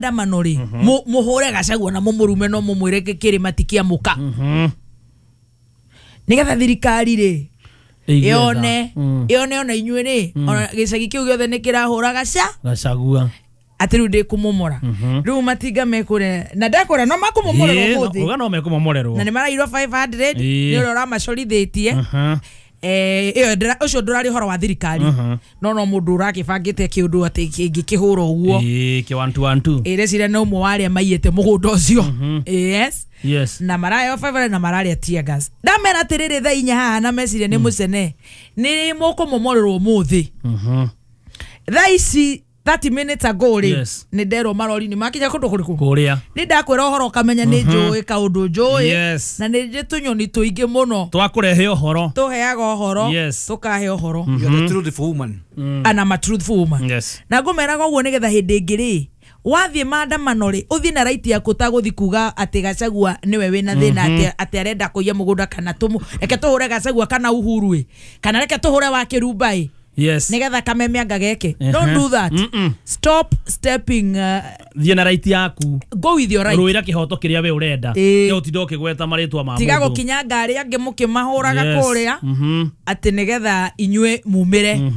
Maandamano rĩ, mũhũre Gachagua na mũmũrume no mũmwĩre kĩrĩma ti kĩa mũka, nĩgetha thirikari rĩ Ĩigue tha. yone yone ona inyuĩ rĩ, ona gĩcagi kĩu gĩothe nĩ kĩrahũra gaca Gachagua. Atĩ rĩu ndĩ kũmomora rĩu matinga mekũrĩa na ndakũrĩa no makũmomorerwo ũmũthĩ. Uga no mekũmomorerwo. Na nĩ marairwo 500 nĩ ũrĩa ũramacorithĩtie. Ĩyo ũcio ndũrarĩ ũhoro wa thirikari, no mũndũ ũrakĩbangĩte kĩũndũ atĩ kĩngĩkĩhũra ũguo. Ĩĩ, kĩ 1 2 1 2. Ĩreciria nĩ ũmwe wa arĩa maiyĩte mũgũnda ũcio, yes. Na maraheo 500 na mararĩa tear gas. Ndamera atĩrĩrĩ, thaa 4 haha na meciria nĩ mũcene nĩ mũkũmomorerwo ũmũthĩ. Thaa ici 30 minutes ago rĩ, nĩ nderwo marori nĩ makinya kũndũ kũrĩkũ. Kũrĩa. Nĩ ndakwĩra ũhoro ũkamenya nĩ njũĩ kaũndũ njũĩ. Na nĩ njĩ tũnyoni tũingĩ mũno Twakũrehe ũhoro. Tũheaga ũhoro. Tũkahe ũhoro. You are the truthful woman. And I'm a truthful woman. Na ngũmeraga ũguo nĩgetha hĩndĩ ĩngĩ rĩ, wathiĩ maandamano rĩ, ũthiĩ na right yaku, ũtagũthiĩ kuga atĩ Gachagua nĩwe wĩna thĩna, atĩ arenda kũiya mũgũnda, kana tũmũ reke tũhũre Gachagua kana Uhuru ĩ, kana reke tũhũre wa Kĩrumba ĩ, nĩgetha kameme anga geke. Don't do that. Stop stepping Thiĩ na right yaku. Go with your right. Rũĩra kĩhoto kĩrĩa we ũrenda. Tiga ũtinda ũkĩgweta marĩtwa ma Tiga mũndũ. gũkinyanga arĩa angĩ mũkĩmahũraga kũrĩa atĩ nĩgetha inyuĩ mumĩre.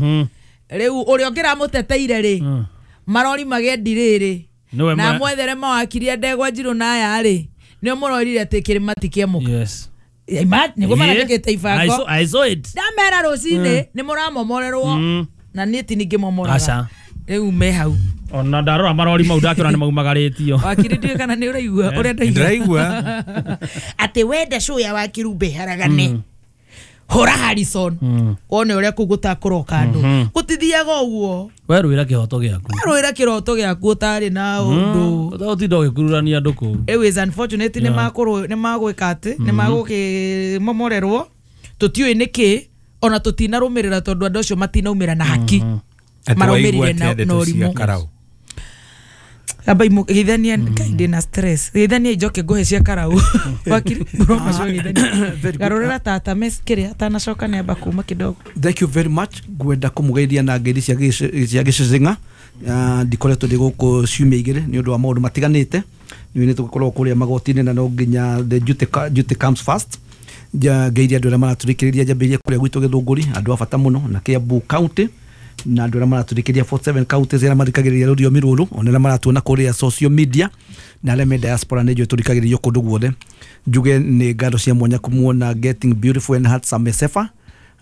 Rĩu ũrĩa ũngĩramũteteire rĩ, marori magendi rĩrĩ Nĩwe na mwethere mawakiri ndegwa njirũ na aya rĩ, nĩo mũrorire atĩ kĩrĩma ti kĩamũka. Nĩguo marandĩkĩte ibango. I saw it. Ndamera rũcinĩ nĩ mũramomorerwo na niĩ ti ningĩmomoraga. Aca. Rĩu me hau. Ona ndarora marori mau ndakĩona nĩ maumagarĩtio. Wakiri, ndiũĩ kana nĩ ũraigua ũrĩa ndaigua. Ndĩraigua. Atĩ wenda cuya wa Kirumba ĩharagane, hũra Harrison, wone ũrĩa kũu gũtakũroka andũ. Gũtithiaga ũguo. We rũĩra kĩhoto gĩaku. Rũĩra kĩroto gĩaku ũtarĩ na ũndũ. Ũtinda ũgĩkururania andũ kũu. It is unfortunate nĩ makũrũ nĩ magwĩka atĩ nĩ magũkĩmomorerwo, tũtiũĩ nĩkĩ ona tũtinarũmĩrĩra tondũ andũ acio matinaumĩra na haki. Atĩ Maraumĩrire waigua atĩa na ndeto cia ũrimũ. Karau? Amba geithania Ngai, ndĩna stress. Geithania njoke ngũhe cia Karau. Wakiri Buroma, geithania. Very good. Garũrĩra tata mes kĩrĩa atanacoka nĩ amba kuma kidogo. Thank you very much. Ngwenda kũmũgeithia na ngeithi cia gĩcĩcĩng'a. Ndikoretwo ndĩ gũkũ ciumia 2 nĩ ũndũ wa maũndũ matiganĩte. Nĩ tũgũkorwo kũrĩa magoti-inĩ na no nginya the duty comes first. Ngeithia andũ arĩa maratũthikĩrĩria, njambĩrĩrie kũrĩa gwitũ Gĩthũngũri, andũ a bata mũno, na Kiambu County, na andũ arĩa maratũthikĩrĩria 47 counties arĩa mathikagĩrĩria rũthiomi rũrũ, ona arĩa maratuona kũrĩa social media, na arĩa me diaspora, nĩ njũĩ tũthikagĩrĩrio kũndũ guothe. Njuge nĩ ngatho cia mwanya kũmuona getting beautiful and handsome Sefa.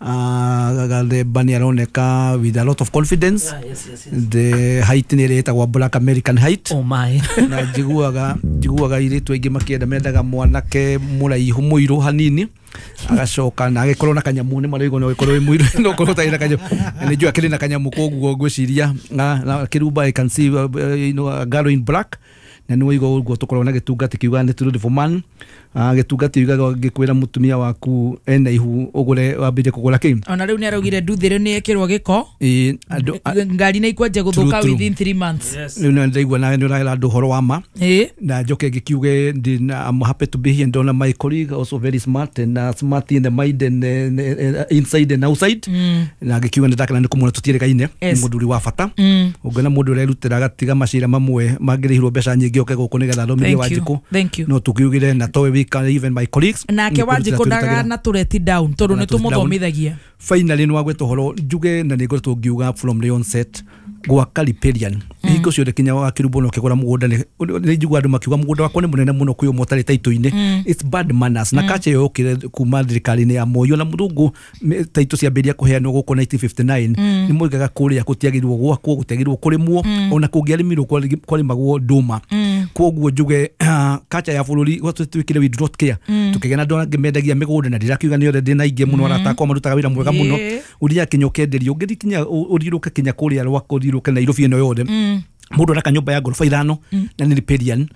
Gathemba nĩ aroneka with a lot of confidence. Yes. The height nĩ ĩrĩa ĩtagwo Black American height. Oh my. Na njiguaga airĩtu aingĩ makĩenda, mendaga mwanake mũraihu mũirũ hanini, agacoka na agĩkorwo na kanyamũ. Nĩ maraigua no ũgĩkorwo wĩ mũirũ no ũkorwo ũtarĩ na kanyamũ, na nĩ njũĩ akĩrĩ na kanyamũ, koguo ngwĩciria na Kĩrumba, I can see a girl in black, na nĩ waigua ũguo tũkorwo na gĩtungati kiugaga nĩ truthful man. Gĩtungati yugaga ngĩkwĩra mũtumia waku ena ihu, ũgũre wambĩrĩrie kũgũra kĩ. Ona rĩu nĩ araugire nduthĩrĩ nĩ ĩkĩrwo gĩko. Ĩĩ, andũ Ngari nĩ ikwanjia gũthũka True. within 3 months. Rĩu nĩ ndaigua nawe nĩ ũrahera andũ ũhoro wa ma. Na njoke ngĩkiuge I'm happy to be here. Ndona my colleague also very smart and smart in the mind and inside and outside, na ngĩkiuga nĩ ndakena nĩ kũmuona tũtiĩrĩgaine. Nĩ mũthuri wa bata. Ũngĩona mũndũ ũrerutĩra agatiga macira mamwe mangĩrĩhirwo mbeca nyingĩ oke gũkũ nĩgetha athomithie Thank you. Wanjikũ. Thank you. No tũkiugire na towe wika, even my colleagues Nake nĩ kũrutĩra Wanjikũ tũrutagĩra. ndagana tũreti down tondũ nĩ Ndagana tũreti down. tũmũthomithagia. Finally nĩ wagweta ũhoro njuge na nĩ ngoretwo ngiuga from the onset gwaka riparian hingo ciothe kinya wa Kĩrumbo no kĩgũra mũgũnda nĩ njigua andũ makiuga mũgũnda wakwa nĩ mũnene mũno kwĩ ũmwe ũtarĩ taitũ-inĩ. It's bad manners, na culture ĩyo yokire kuma thirikari-inĩ ya Moi na mũthũngũ. Taitũ ciambĩrĩria kũheanwo gũkũ 1959, nĩ moigaga kũrĩa gũtiagĩrĩirwo gwakwo, gũtiagĩrĩirwo kũrĩmwo, ona kũngĩarĩmirwo kwarĩmagwo ndũma. Koguo njuge culture ya bũrũri gwatwĩkire we do not care, tukĩgĩa na andũ angĩ mendagia mĩgũnda, na ndirakiuga nĩ othe, ndĩna aingĩ mũno arata akwa marutaga wĩra mwega mũno. Ũthiaga kinya ũkenderio, ũngĩthiĩ kinya ũthiũrũke kinya kũrĩa rwako, ũthiũrũke Nairobi ĩno yothe, mũndũ araka nyũmba ya ngoroba 5 na nĩ riparian.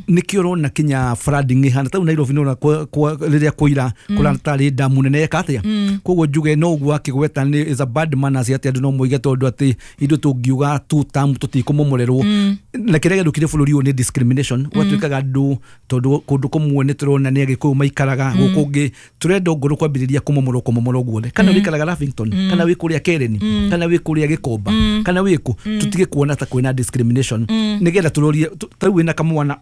Nĩkĩo ũrona kinya flooding ĩhana tau Nairobi, nĩũrona rĩrĩa kũira kũratarĩ damu nene eka atĩa. Koguo njuge no ũguo akĩgweta nĩ is a bad manners atĩ andũ no moige tondũ atĩ ithuĩ tũngiuga tu term tũtikũmomorerwo, na kĩrĩa gĩthũkire bũrũri ũyũ nĩ discrimination. Gwatuĩkaga andũ tondũ kũndũ kũmwe nĩ tũrona nĩ Agĩkũyũ maikaraga, gũkũ ũngĩ tũrenda ongorwo kwambĩrĩria kũmomorwo kũmomorwo guothe, kana wĩikaraga Lavington, kana wĩ kũrĩa Karen, kana wĩ kũrĩa Gĩkomba, kana wĩ kũ, tũtige kuona ta kwĩna discrimination, nĩgetha tũrorie Ta rĩu wĩna kamwana,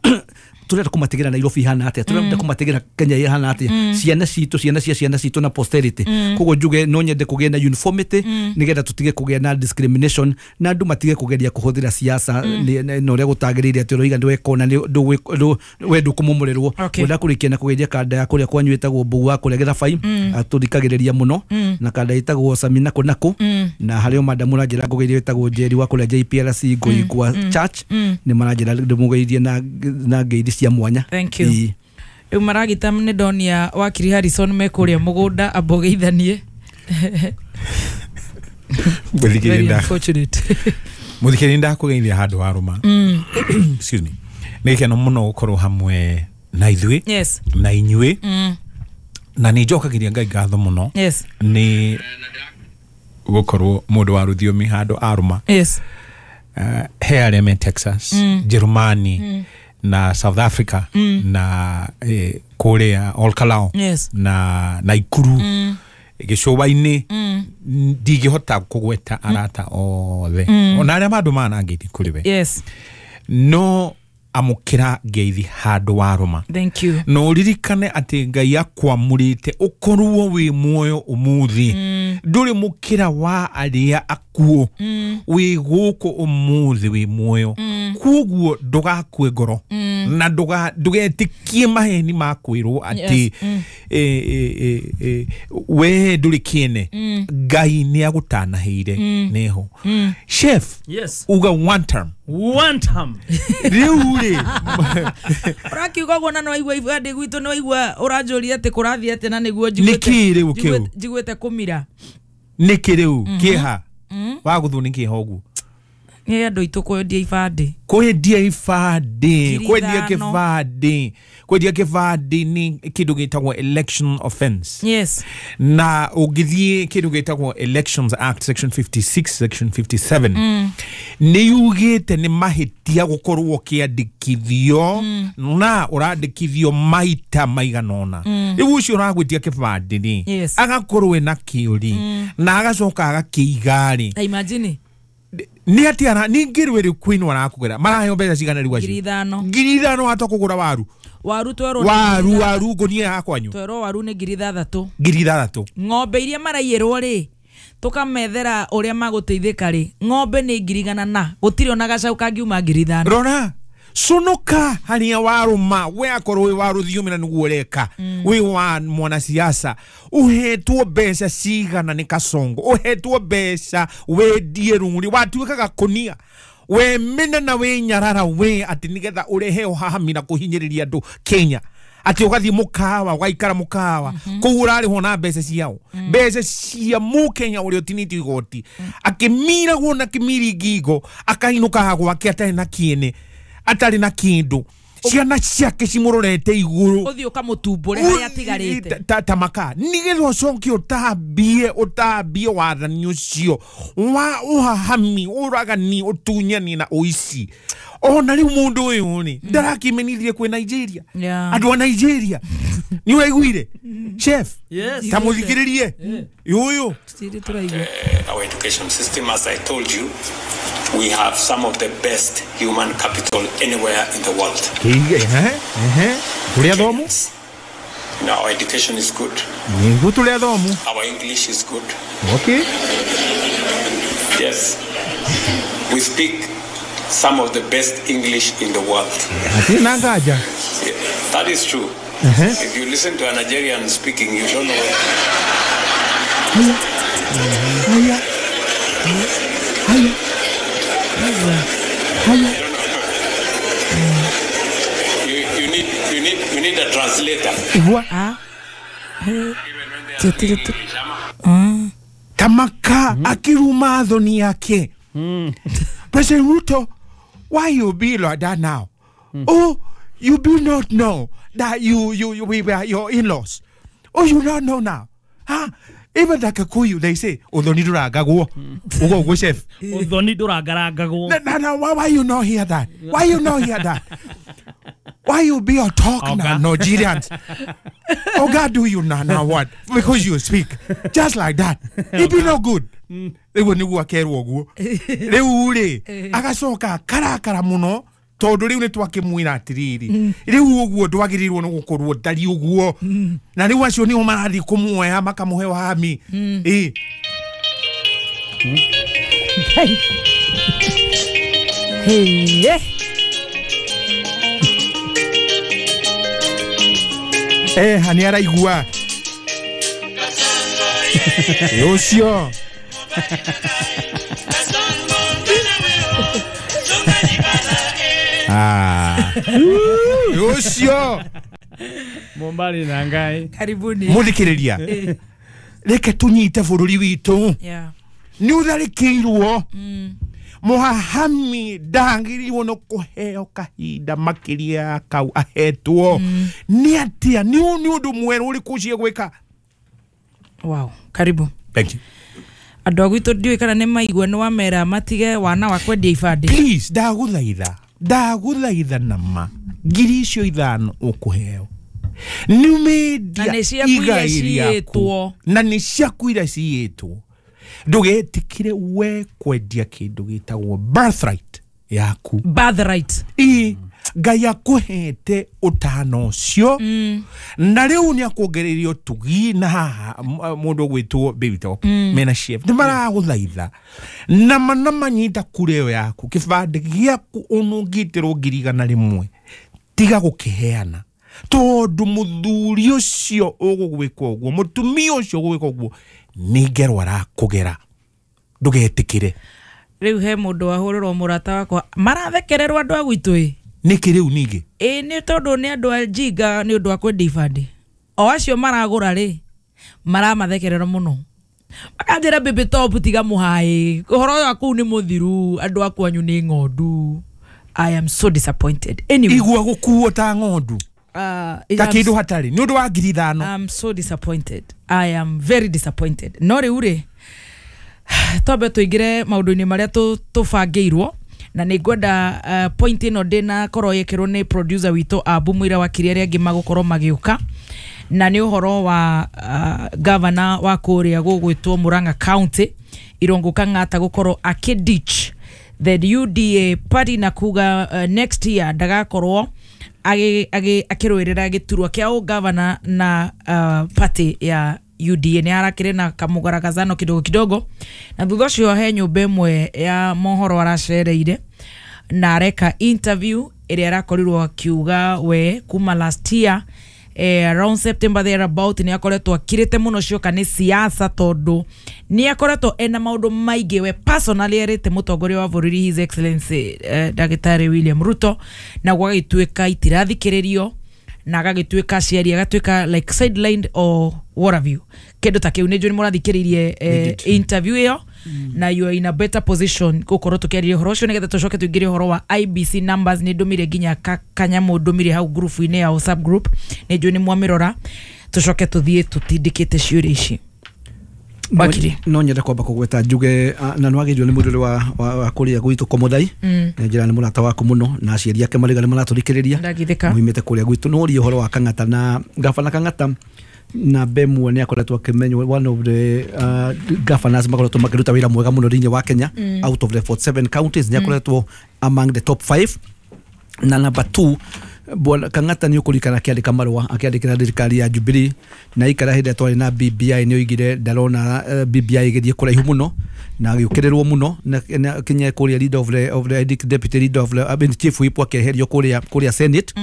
turenda kũmatigĩra Nairobi ihana atĩa, turenda kũmatigĩra Kenya ihana atĩa, ciana citũ, ciana cia ciana citũ na posterity. Koguo njuge no nyende kũgĩe na uniformity nĩgetha tũtige kũgĩa na discrimination na andũ matige kũgeria kũhũthĩra siasa na ũrĩa gũtagĩrĩire, atĩ ũroiga nĩwekona we ndũkũmomorerwo. Ngwenda kũrĩkia na kũgeithia kanda ya kũrĩa kwanyu ĩtagwo Mbũgũ wa kũrĩa Gĩthabai, atũthikagĩrĩria mũno, na kanda ĩtagwo Samina Kũnakũ, na harĩ o madamu ũranjĩra ngũgeithie ĩtagwo Njeri wa kũrĩa JPRC Ngũigwa Church, nĩ maranjĩra ndĩmũgeithie na ngeithi cia mwanya. Thank you. Rĩu maragita nĩ ndonia wakiri Harrison me kũrĩa mũgũnda ambogeithanie. Very unfortunate. Mũthikĩrĩria, ndakũgeithia handũ wa rũma. Excuse me. Nĩ gĩkeno mũno gũkorwo hamwe na ithuĩ na inyuĩ, na nĩ njokagĩria Ngai ngatho mũno nĩ gũkorwo mũndũ wa rũthiomi handũ arũma. He arĩa me Texas, Jerumani, na South Africa, na kũrĩa Olkalou, na Naikuru, gĩcũa-inĩ, ndingĩhota kũgweta arata othe ona arĩa mandũ manangeithi kũrĩ we. No amũkĩra ngeithi handũ wa rũma. Thank you. No ũririkane atĩ Ngai akwamũrĩte ũkorwo wĩ muoyo ũmũthĩ, ndũrĩ mũkĩra wa arĩa akuũ, wĩ gũkũ ũmũthĩ wĩ muoyo, koguo ndũgakue ngoro na ndũgetĩkie maheni ma kwĩrwo atĩ we ndũrĩ kĩene. Ngai nĩ agũtanahĩire nĩho. Chef, uga one term. One term. Rĩu rĩ ũrakiuga ũguo na nĩwaigua ibandĩ gwitũ, nĩwaigua ũranjũria atĩ kũrathiĩ atĩa na nĩguo nĩkĩ rĩu kĩu njiguĩte kũmira. Nĩkĩ rĩu kĩeha wagũthwo nĩ kĩeha ũguo? Nĩ andũ aitũ kwendia ibandĩ, kwendia ibandĩ, kwendia kĩbandĩ, kwendia kĩbandĩ nĩ kĩndũ gĩtagwo election offense. Na ũngĩthiĩ kĩndũ gĩtagwo Elections Act section 56 section 57, nĩ yugĩte nĩ mahĩtia gũkorwo ũkĩandĩkithio na ũrandĩkithio maita maigana ũna. Rĩu ũcio ũragwĩtia kĩbandĩ rĩ, agakorwo ena kĩũri na agacoka agakĩiga rĩ. Imagine nĩ atĩ ara ningĩ rwĩrĩ kwĩnwo arakũgera maraheo mbeca cigana rĩu acio? 5,000. 5,000 watoka kũgũra waru. Waru twerwo waru waru ngũnia ya kwanyu twerwo waru nĩ 6,000. 6,000. Ng'ombe iria maraiyĩrwo rĩ, tũkamethera ũrĩa magũteithĩka rĩ, ng'ombe nĩ 100,000 na gũtirĩ ona gacaũ kangiuma 5,000. Rora conoka harĩa warũma we akorwo wĩ wa rũthiomi na nĩguo ũreka, wĩ wa mwanasiasa, ũhetwo mbeca cigana nĩ Kasongo, ũhetwo mbeca wendie rũng'ũrĩ, watuĩka gakũnia we mena na we nyarara we atĩ nĩgetha ũrehe ũhahami na kũhinyĩrĩria andũ Kenya, atĩ ũgathiĩ mũkawa ũgaikara mũkawa kũu ũrarĩhwo na mbeca ciao, mbeca cia mũkenya ũrĩa ũtinĩtio igoti, akĩmiragwo na kĩmiri ngingo, akainũka gwake atarĩ na kĩene, atarĩ na kĩndũ, ciana ciake cimũrorete igũrũ, ũthiĩ ũkamũtumbũre harĩa atigarĩte ta maka, nĩgetha ũcoke ũtambie wathani ũcio wa ũhahami, ũragani, ũtunyani na ũici. Ona rĩu mũndũ ũyũ rĩ ndarakĩmenithie kwĩ Nigeria. Andũ a Nigeria nĩ ũraiguire chef? Ta mũthikĩrĩrie ũyũ. Our education system, as I told you, we have some of the best human capital anywhere in the world. Tũrĩ athomu? Our education is good. Nĩguo tũrĩ athomu. Our English is good. Okay. Yes. We speak some of the best English in the world. Hatirĩ na nganja. That is true. If you listen to a Nigerian speaking, you don't know. Haya. Haya. Haya. You need a translator. What? Tamaka akiruma thoni yake. President Ruto, why you be like that now? Oh, you do not know that you we were your in-laws. Oh, you don't know now. Huh? Even the Kikuyu, they say, "Uthoni ndũrangagwo." Ugo ugo chef. Uthoni ndũrangarangagwo. No, why you not hear that? Why you not hear that? Why you be a talk now, Nigerians? Oh God, do you now what? Because you speak just like that. It be no good. Rĩu nĩguo akerwo ũguo. Rĩu rĩ, agacoka karakara mũno Tondu riu ni twakimwira atiriri riu uguo ndwagirirwo ni gukorwo ndari uguo na riu acio nio marathi kumuoya makamuhe wami. Hani araigua ucio. Ucio Mombari na Ngai. Karibuni. Muthikiriria. Reke tunyite bururi witu. Ni utharikiirwo. Muhahami ndagiriirwo no kuheo kahinda makiria kau ahetwo. Ni atia ni undu mweru uriku ucio gwika. Wow, karibu. Thank you. Andũ a gwitũ ndiũĩ kana nĩ maigua nĩ wamera matige wana wa kwendia ibandĩ. Please, ndagũthaitha. Ndagũthaitha nama ngiri icio ithano ũkũheo. Nĩ ũmendia igai rĩaku. Na nĩ ciaku iria ciiyĩtwo. Ndũgetĩkĩre we kwendia kĩndũ gĩtagwo birthright yaku. Birthright. Ĩ Ngai akũhete ũtano ũcio. Na rĩu nĩ akuongereire ũtugi na haha mũndũ ũgwĩtwo Baby Top mena chef nĩ maragũthaitha na mana manyita kura ĩyo yaku kĩbandĩ gĩaku ũnũngĩtĩrwo 100,000 tiga gũkĩheana tondũ mũthuri ũcio ũgũgwĩka ũguo mũtumia ũcio ũgũgwĩka ũguo nĩ ngero arakũgera ndũgetĩkĩre. Rĩu he mũndũ wahũrĩrwo mũrata wakwa marathekererwo andũ a gwitũ ĩ. Nĩkĩ rĩu ningĩ? Ĩ nĩ tondũ nĩ andũ a njinga nĩ ũndũ wa kwendia ibandĩ. O acio maragũra rĩ maramathekerera mũno. Makanjĩra Baby Top tiga mũhaĩ ũhoro ũyũ wa kũu nĩ mũthiru andũ a kwanyu nĩ ng'ondu. I am so disappointed. Anyway, igua gũkuo ta ng'ondu. Ta kĩndũ hatarĩ nĩ ũndũ wa 5,000. I'm so disappointed. I am very disappointed. No rĩu rĩ twambe tũingĩre maũndũ-inĩ marĩa tũbangĩirwo. Na nĩ ngwenda point ĩno ndĩna korwo yĩkĩrwo nĩ producer witũ Abu Mwira wa Kiria arĩa angĩ magũkorwo magĩũka. Na nĩ ũhoro wa governor wa kũrĩa gũgwĩtwo Murang'a County Irungu Kang'ata gũkorwo akĩditch the UDA party na kuga next year ndagakorwo akĩrũĩrĩra gĩturwa kĩa ũgavana na party ya UDA. Nĩ arakĩrĩ na kamũgaragazano kidogo kidogo na thutha ũcio he nyũmba ĩmwe ya mohoro aracereire na areka interview ĩrĩa arakorirwo akiuga we kuma last year around September thereabout nĩ akoretwo akirĩte mũno cioka nĩ siasa tondũ nĩ akoretwo ena maũndũ maingĩ we personally erĩte mũtongoria wa bũrũri His Excellency Ndagĩtarĩ William Ruto na gwagĩtuĩka itirathikĩrĩrio na agagĩtuĩka aciari agatuĩka like sidelined or what have you kĩndũ ta kĩu. Nĩ njũĩ nĩ mũrathikĩrĩirie interview ĩyo na you are in a better position gũkorwo tũkĩarĩria ũhoro ũcio nĩgetha tũcoke tũingĩre ũhoro wa IBC numbers. Nĩ ndũmire nginya kanyamũ ndũmire hau group-inĩ ya WhatsApp group nĩ njũĩ nĩ mwamĩrora tũcoke tũthiĩ tũtindĩkĩte ciũria ici. Bakiri no nyende kwamba kũgweta njuge na nwagĩrĩirwo nĩ mũndũ wa kũrĩa gwitũ Komothai na njĩra nĩ mũrata waku mũno na aciari ake marĩga nĩ maratũthikĩrĩria muimĩte kũrĩa gwitũ. No ũrie ũhoro wa Kang'ata na gabana Kang'ata na Bemwe nĩ akoretwo akĩmenywo one of the governors makoretwo makĩruta wĩra mwega mũno thĩinĩ wa Kenya. Out of the 47 counties nĩ akoretwo among the top 5 na number 2 Bwana Kang'ata nĩ ũkũririkana akĩandĩka marũa akĩandĩkĩra thirikari ya Jubilee na ikara hĩndĩ ĩrĩa twarĩ na BBI nĩ oigire ndarona BBI ĩgĩthiĩ kũraihu mũno na agĩũkĩrĩrwo mũno na kinya kũrĩa leader of the deputy leader of the I mean, chief whip akĩeherio kũrĩa Senate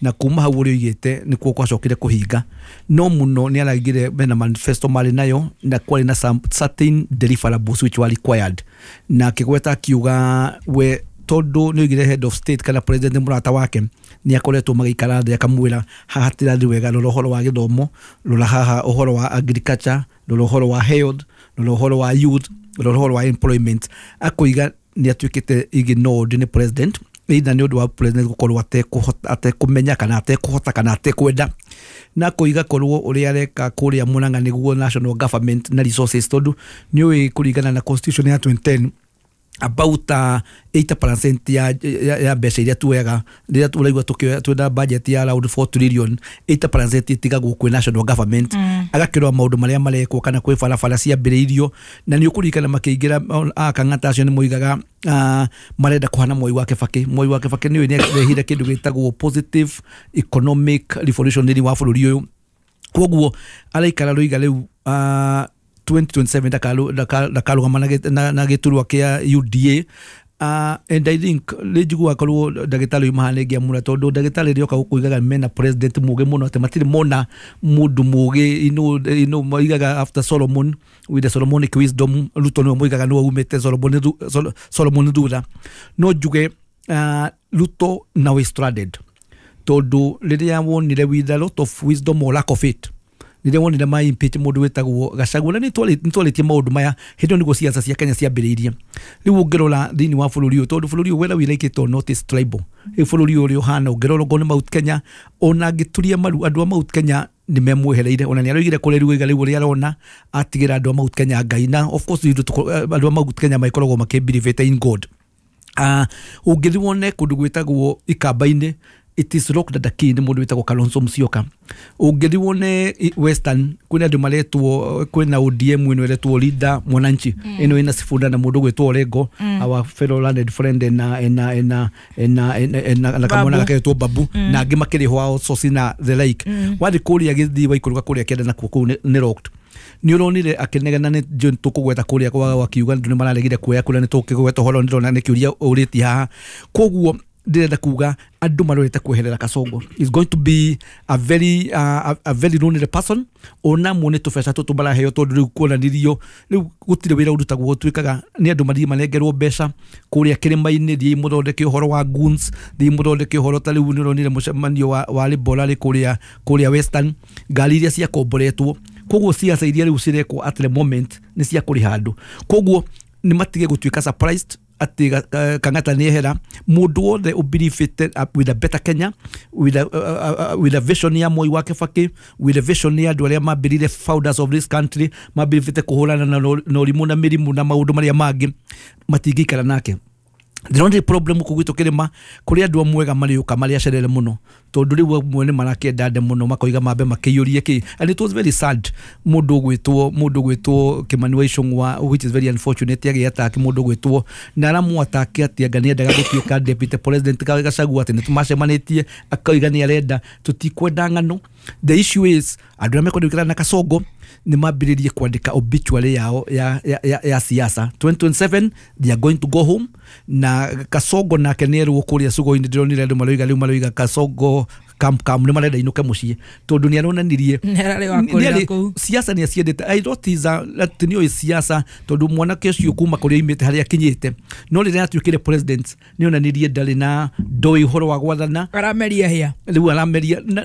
na kuma hau ũrĩa oigĩte nĩkuo gwacokire kũhinga no mũno nĩ araigire mena manifesto marĩ nayo na kwarĩ na some certain deliverables which were required na akĩgweta akiuga we tondu nĩ oigire head of state kana president mũrata wake nĩ akoretwo magĩikara thĩ akamwĩra haha tirathi wega, rora ũhoro wa gĩthomo, rora haha ũhoro wa agriculture, rora ũhoro wa health, rora ũhoro wa youth, rora ũhoro wa employment. Akoiga nĩ atuĩkĩte ignored nĩ president either nĩ ũndũ wa president gũkorwo atekũmenya kana atekũhota kana atekwenda, na koiga korwo ũrĩa areka kũrĩa Murang'a nĩguo national government na resources, tondũ nĩ ũĩ kũringana na constitution ya 2010 About 80% ya mbeca iria tuoyaga rĩrĩa tũraigua twĩna budget ya around 4 trillion, 80% ĩtigagwo kwĩ national government. Agakĩrora maũndũ marĩa marekwo kana kwĩ barabara ciambĩrĩirio, na nĩ ũkũririkana makĩingĩra Kang'ata acio nĩ moigaga marenda kũhana Mwai wa Kĩbakĩ. Mwai wa Kĩbakĩ nĩwe nĩarehire kĩndũ gĩtagwo positive economic revolution thĩinĩ wa bũrũri ũyũ. Koguo araikara rũiga rĩu 2027 ndakarũgama na gĩturwa kĩa UDA. And I think nĩ korwo ndagĩtarĩ ũyũ mahana ĩngĩamũra, tondũ ndagĩtarĩ rĩoka gũkũ mena president mũgĩ mũno, atĩ matirĩ mona mũndũ mũgĩ ino moigaga after Solomon with the Solomonic wisdom. Ruto nĩwe moigaga nĩwe umĩte Solomon thutha. No njuge Ruto now is stranded, tondũ rĩrĩa wonire with a lot of wisdom or lack of it, rĩrĩa wonire ma impeach mũndũ wĩtagwo Gachagua, na nĩ twarĩtie maũndũ maya hĩndĩ ĩyo nĩguo siasa cia Kenya ciambĩrĩirie. Rĩu ũngĩrora thĩinĩ wa bũrũri ũyũ, tondũ bũrũri ũyũ whether we like it or not is tribal, rĩu bũrũri ũyũ ũrĩa ũhana ũngĩrora okorwo nĩ Mount Kenya, ona angĩturia maru andũ a Mount Kenya nĩ memwehereire. Ona nĩ aroigire kũrĩa rĩu rĩu ũrĩa arona atigĩra andũ a Mount Kenya Ngai, na of course andũ a Mount Kenya makoragwo makĩbelieve in God. Ũngĩthiĩ wone kũndũ gwĩtagwo Ikamba-inĩ, it is locked at the key nĩ mũndũ wĩtagwo Kalonzo Musyoka. Ũngĩthiĩ wone Western kwĩna andũ maretwo, kwĩna ODM ĩno ĩretwo Leader Mwananchi, ĩno ĩna Sifuna na mũndũ gwĩtwo Orengo, our fellow learned friend na kamwana gagetwo Babu, na angĩ makĩrĩhwo outsource na the like. Wathiĩ kũrĩa gĩthiĩ waikũrũka kũrĩa kĩanda nakuo kũu nĩ locked. Nĩ ũronire akĩnegena nĩ John tũkũgweta kũrĩa kwa akiuga andũ nĩ mararegire kuoya kũrĩa, nĩ tũkĩgweta ũhoro ndĩrona nĩ kĩũria ũrĩtie haha. Koguo ndĩrenda kuga andũ marorete kweherera Kasongo is going to be a very a very lonely person. Ona mo nĩ tũbeca tũtũ maraheo, tondũ rĩu kuonanirio rĩu gũtirĩ wĩra ũrutagwo, gũtuĩkaga nĩ andũ mathiĩ manengerwo mbeca kũrĩa kĩrĩma-inĩ, thiĩ mũthondeke ũhoro wa goons, thiĩ mũthondeke ũhoro ta rĩu nĩ ũronire mũcemanio wa Libora rĩ kũrĩa Western, ngari iria ciakomboretwo. Koguo siasa iria rĩu cirekwo at the moment nĩ cia kũrĩha andũ. Koguo nĩ matige gũtuĩka surprised atĩ Kang'ata nĩ ehera. Mũndũ wothe ũbelievĩte with a better Kenya, with a vision ya Moi wa Kĩbakĩ, with a vision ya andũ arĩa mambĩrĩire founders of this country, mambĩrĩte kũhũrana na ũrimũ na mĩrimũ na maũndũ marĩa mangĩ, matingĩikara nake. The only problem gũkũ gwitũ kĩrĩma kũrĩ andũ amwe ega marĩũka marĩ acerere mũno, tondũ rĩu amwe nĩ marakĩenda nde mũno makoiga mambe makĩiyũrie kĩ. And it was very sad mũndũ ũgwĩtwo Kimani wa Ichung'wa, which is very unfortunate, agĩataki mũndũ ũgwĩtwo na aramwataki atĩ anga nĩendaga gũtuĩka deputy president Gachagua, atĩ nĩtũmacemanĩtie akoiga nĩ arenda, tũtikwenda ng'ano. The issue is andũ arĩa mekwenda gũikara na Kasongo nĩ mambĩrĩrie kwandĩka obituary yao ya siasa. 2027 they are going to go home. Na Kasongo nake nĩ erwo kũrĩa Sugo-inĩ, ndĩronire andũ maroiga rĩu maroiga Kasongo camp nĩ marenda inũke mũciĩ, tondũ nĩ aronanirie siasa nĩ aciendete. I thought is atĩ nĩoĩ siasa, tondũ mwanake ũcio kuma kũrĩa oimĩte harĩa akinyĩte, no rĩrĩa atuĩkire president nĩ onanirie ndarĩ na ndoĩ ũhoro wa gwathana, arameria hĩa rĩu arameria na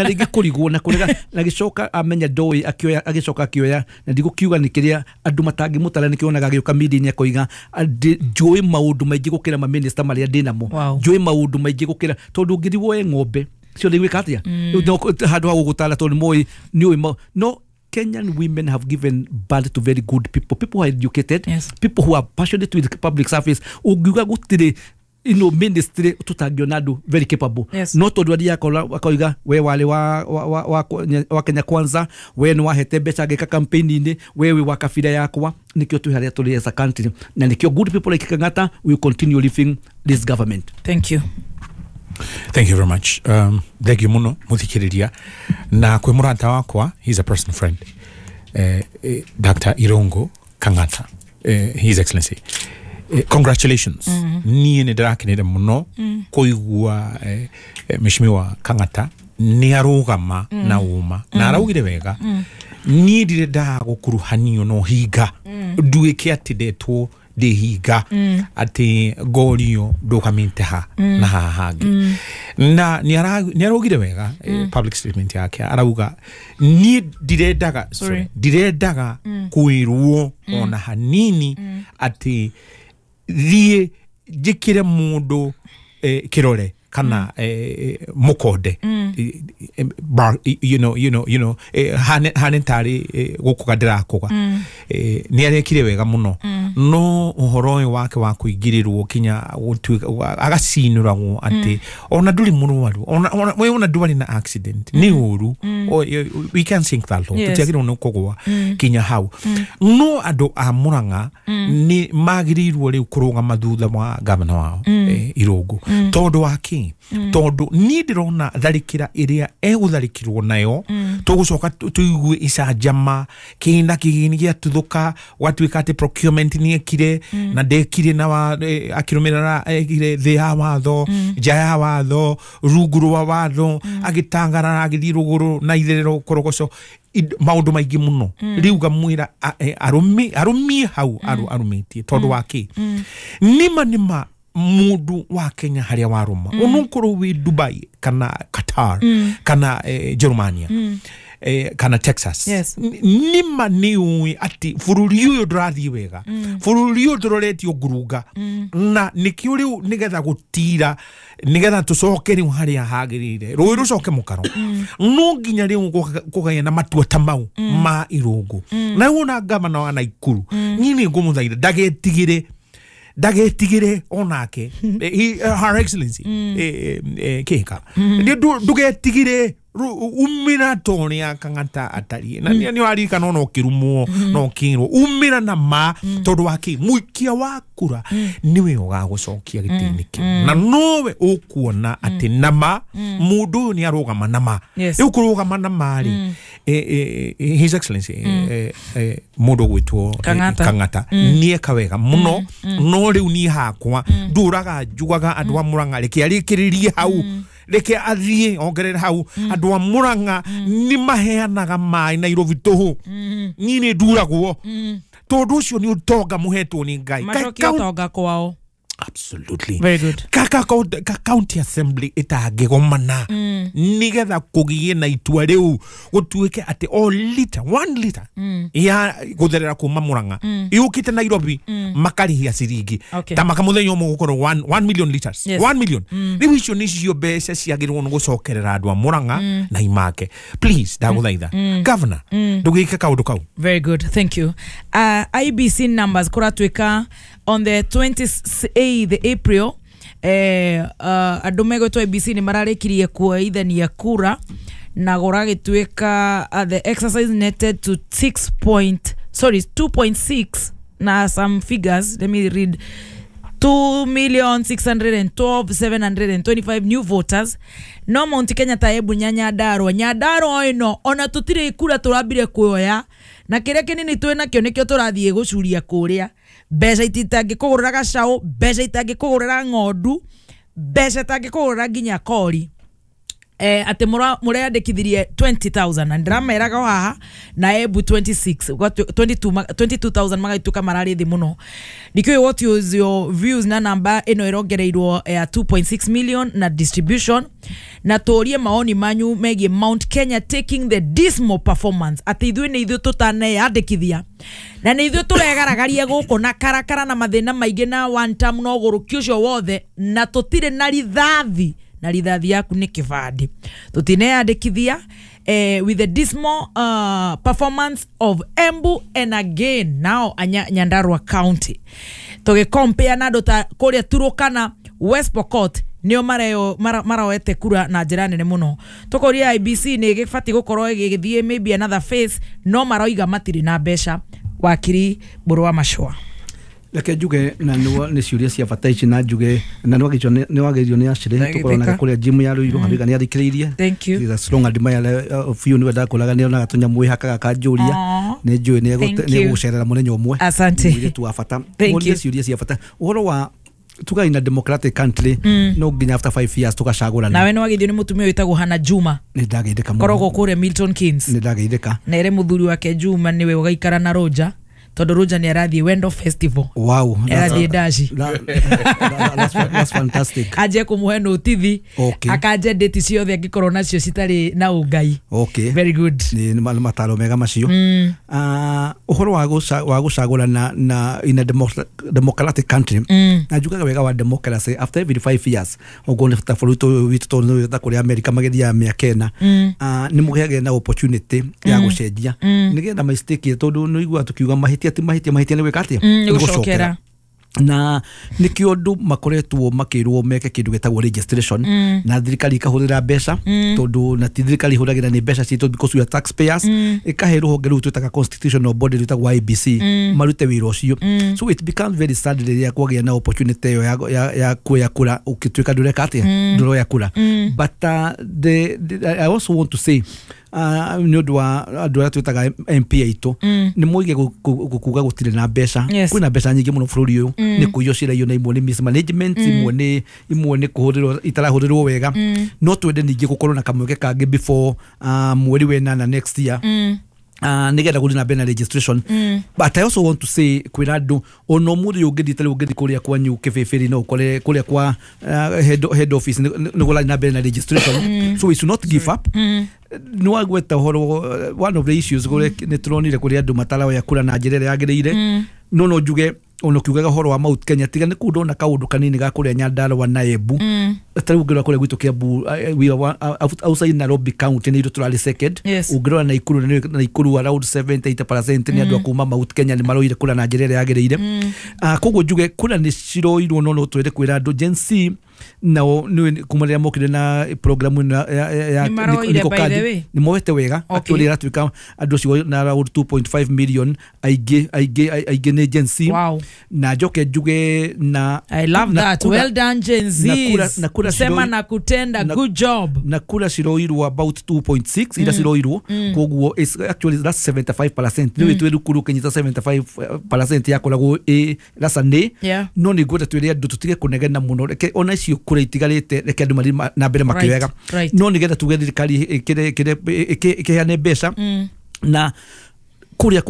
rĩngĩ kũrigwo na kũrega, na gĩcoka amenya ndoĩ akĩoya, agĩcoka akĩoya, na ndigũkiuga nĩ kĩrĩa andũ matangĩmũtara, nĩkĩonaga agĩũka media-inĩ akoiga njũĩ maũndũ maingĩ gũkĩra maminista marĩa ndĩnamo, njũĩ maũndũ maingĩ gũkĩra, tondũ ũngĩthiĩ woe ng'ombe ciothe igwĩka atĩa handũ ha gũgũtara, tondũ nĩmoĩ nĩũĩ. No Kenyan women have given birth to very good people, people who are educated, yes, people who are passionate with public service. Ũngiuga gũtirĩ ino ministry tũtangĩona andũ very capable, yes. No tondũ athiaga akoiga we warĩ wa Kenya Kwanza, we nĩ wahete mbeca ngĩka campaign-inĩ, we wĩ wa kabira yakwa, nĩkĩo twĩ harĩa tũrĩ as a country, na nĩkĩo good people like Kang'ata will continue living this government. Thank you. Thank you very much. Thank you muno muthikiriria na kwi murata wakwa, he's a personal friend, Dr. Irungu Kang'ata, His Excellency. Congratulations. Niĩ nĩ ndĩrakenire mũno kũigua Mheshimiwa Kang'ata nĩ arũgama na ũma na araugire wega. Niĩ ndirĩ ndagũkuruhanio na ũhinga, nduĩke atĩ ndetwo ndĩhinga atĩ ngorio ndũgamĩte ha na haha hangĩ. Na nĩ araugire wega public statement yake, arauga niĩ ndirendaga ndirendaga kwĩrwo ona hanini atĩ thiĩ njĩkĩre mũndũ kĩrore kana mukonde you know hane tari gukuga ndirakuga ni arekire wega muno no uhoro uyu wake wa kuingirirwo kinya agacinuragwo ati ona nduri murwaru ona we ona ndwari na accident ni uru we can think that low tutiagirwo ni kugwa kinya hau no andu a Murang'a ni magirirwo riu kurugama thutha wa gavana wao Irungu tondu wa ki tondu ni ndirona tharikira iria egutharikirwo nayo tugucoka tuigue icanjama kina kigini giatuthuka gwatuika ati procurement ni ekire na ndekire na akirumirira ekire thi ya watho nja ya watho rungu rwa watho agitangarara agithii ruguru na itherero korogoco maundu maingi muno riu ngamwira arumie hau arumitie tondu wa ki nima nima mundu wa Kenya haria waruma unukorwo wi Dubai kana Qatar kana Germania kana Texas nima ni ui ati bururi uyu ndurathii wega bururi uyu nduroretio ngurunga na nikio riu nigetha gutira nigetha tucoke riu haria hagirire rui rucoke mukaro no nginya riu kugaya na matua ta mau ma Irungu na wona gavana wa Nakuru ni ni ngumuthaitha ndagetigire onake Her Excellency Kihika ndugetigire umira toria Kang'ata atarie na ni waririkana no kirumwo no kirwo umira na ma tondu wa ki muikia wa kura niwe ugagucokia gitini kiu na nowe ukuona ati nama mundu uyu ni arugama na ma riu kurugama na ma ri His Excellency mundu gwitwo Kang'ata nieka wega muno no riu ni hakwa nduraga njugaga andu a Murang'a reke arikiririe hau reke athie ongerere hau andu a Murang'a ni maheanaga mai Nairobi tuhu ni ni nduragwo tondu ucio ni utonga muhetwo ni Ngai macokie utonga kwao. Absolutely. Very good. Kaka county assembly itangigomana nigetha kugie na itua riu gutuike ati o liter 1 liter ya gutherera kuma Murang'a yukite Nairobi makarihia ciringi ta makamuthenya umwe gukorwo 1 million liters. 1 million riu icio nicio mbeca ciagirwo ni gucokerera andu a Murang'a na imake. Please ndaguthaitha governor ndugike kaundu kau. Very good, thank you. IBC numbers kuratuika on the 28th April andu megwetwo IBC ni mararikirie kuoithania kura na guragituika the exercise netted to 2.6 na some figures. Let me read. 2,612,725 new voters. No Mount Kenya ta Embu Nyandarua Nyandarua ino ona tutire kura turambire kuoya na kiria kinini twi nakio nikio turathie gucuria kuria mbeca itangikugurira gacau, mbeca itangikugurira ng'ondu, mbeca itangikugurira nginya kori. Ati mureyandikithirie 20,000 na ndirameraga haha na Embu 26 22,000 magaituka marari thi muno. Ndikĩũĩ what is your views na namba ĩno ĩrongereirwo ya 2.6 million na distribution, na tũrie maoni manyu megiĩ Mount Kenya taking the dismal performance atĩ ithuĩ nĩ ithuĩ tũtaneyandĩkithia na nĩ ithuĩ tũregaragaria gũkũ na karakara na mathĩna maingĩ na one term na ũgũrũki ũcio wothe na tũtirĩ na rithathi na rithathi yaku ni kibandi tutineyandikithia with the dismal performance of Embu and again now Nyandarua County tugicompare na andu ta kuria Turukana West Pokot nio maroete kura na njira nene muno. Tukoria IBC ni gibati gukorwo igithie maybe another phase no maroiga matiri na mbeca. Wakiri Mburu wa Machua. Reke njuge na nä ciå cia bata ici na njuge na nä wagerio nä acire tåkoranaga kå rä a gym ya Ruiru harä nä athikä rä irie strong admirer of you nä ndakåraga nä onaga tå nyamå hakaga kanjå ria nä njå nä egå cerera må thenya å mwe tu wa bata å ciå cia bata å horo wa tuga in a democratic country no nginya after 5 years tugacagurana. Nawe nä wageithio nä mutumia witagwo Hana Juma. Nä ndageithĩka koragwo kũrĩa Milton Keynes. Nä ndageithĩka na ere muthuri wake Juma niwe ugaikara na Roger Tondu Roger ni arathie Wendo Festival. Wow, arathie Dashi. That's fantastic. Aje kumuhe notithi. Okay. Akaje date ciothe angikorwo nacio citari na ungai. Okay. Very good. Ni mataro mega macio. Uhoro wa gucagura na in a democratic country. Na njugaga wega wa democracy after every 5 years ogo ni ta bũrũri witũ tondũ ta kũrĩa America magĩthiaga mĩaka ĩna, nĩ mũgĩagĩra na opportunity ya gũcenjia nĩgetha mistake tondũ nĩ ũiguaga tũkiuga mahĩtia ti mahĩtia, mahĩtia nĩ gwĩka atĩa, nĩ gũcokera. Na nikio andu makoretwo makirwo meke kindu gitagwo registration, na thirikari ikahurira mbeca, tondu na ti thirikari ihuragira ni mbeca citu because we are taxpayers, ikahe ruhonge ruu twitaga constitutional body rwitagwo IBC marute wira ucio. So it becomes very sad riria kwagia na opportunity iyo ya kuoya kura ukituika ndureka atia, nduroya kura. But I also want to say nĩ ũndũ wa andũ arĩa twĩtaga MP aitũ, nĩ moige kuga gũtirĩ na mbeca. Kwĩna mbeca nyingĩ mũno bũrũri ũyũ, nĩ kũiywo ciraiywo na imwe nĩ mismanagement, imwe nĩ kũhũthĩrwo itarahũthĩrwo wega. No twende ningĩ gũkorwo na kamweke kangĩ before mweri wa ĩnana next year, nigetha gũthiĩ na mbere na registration. But I also want to say kwĩra andũ ona ũmũthĩ ũngĩthiĩ tarĩu ũngĩthiĩ kũrĩa kwanyu Kĩbĩbĩri no ũkore kũrĩa kwa head office nĩ gũrathiĩ na mbere na registration. So we should not give up. Nĩ wagweta ũhoro one of the issues nĩ tũronire kũrĩa andũ mataraoya kura na njĩra ĩrĩa yagĩrĩire. No njuge ona ũkiugaga ũhoro wa Mount Kenya, tiga nĩ kũu ndona kaũndũ kanini ga kũrĩa Nyandarua na Embu. Tarĩu ũngĩrora kũrĩa gwitũ Kiambu, we are outside Nairobi County nĩ ithuĩ tũrarĩ second. Ũngĩrora Naikuru, Naikuru around 70-80% nĩ andũ a kuma Mount Kenya nĩ maroire kura na njĩra ĩrĩa yagĩrĩire. Koguo njuge kura nĩ ciroirwo, no twende kwĩra andũ Gen Z nao nĩ kuma rĩrĩa mokire na program ĩno ya Niko Kadi nĩ moete wega. Actually ĩratuĩka andũ acio na around 2.5 million aingĩ nĩ Gen Z. Na njoke njuge na I love that. Well done Gen Z. Sema na kutenda, good job. Na kura ciroirwo about 2.6 ira ciroirwo, koguo is actually that's 75%. Nĩ twĩ rukuru kinyita 75% yakoragwo ĩ that's a nĩ. No nĩ ngwenda twĩre andũ tũtige kũnegena mũno, reke ona icio kura itigarĩte reke andũ mathiĩ na mbere makĩoyaga. No nĩgetha tuge thirikari ĩkĩheane mbeca na kuria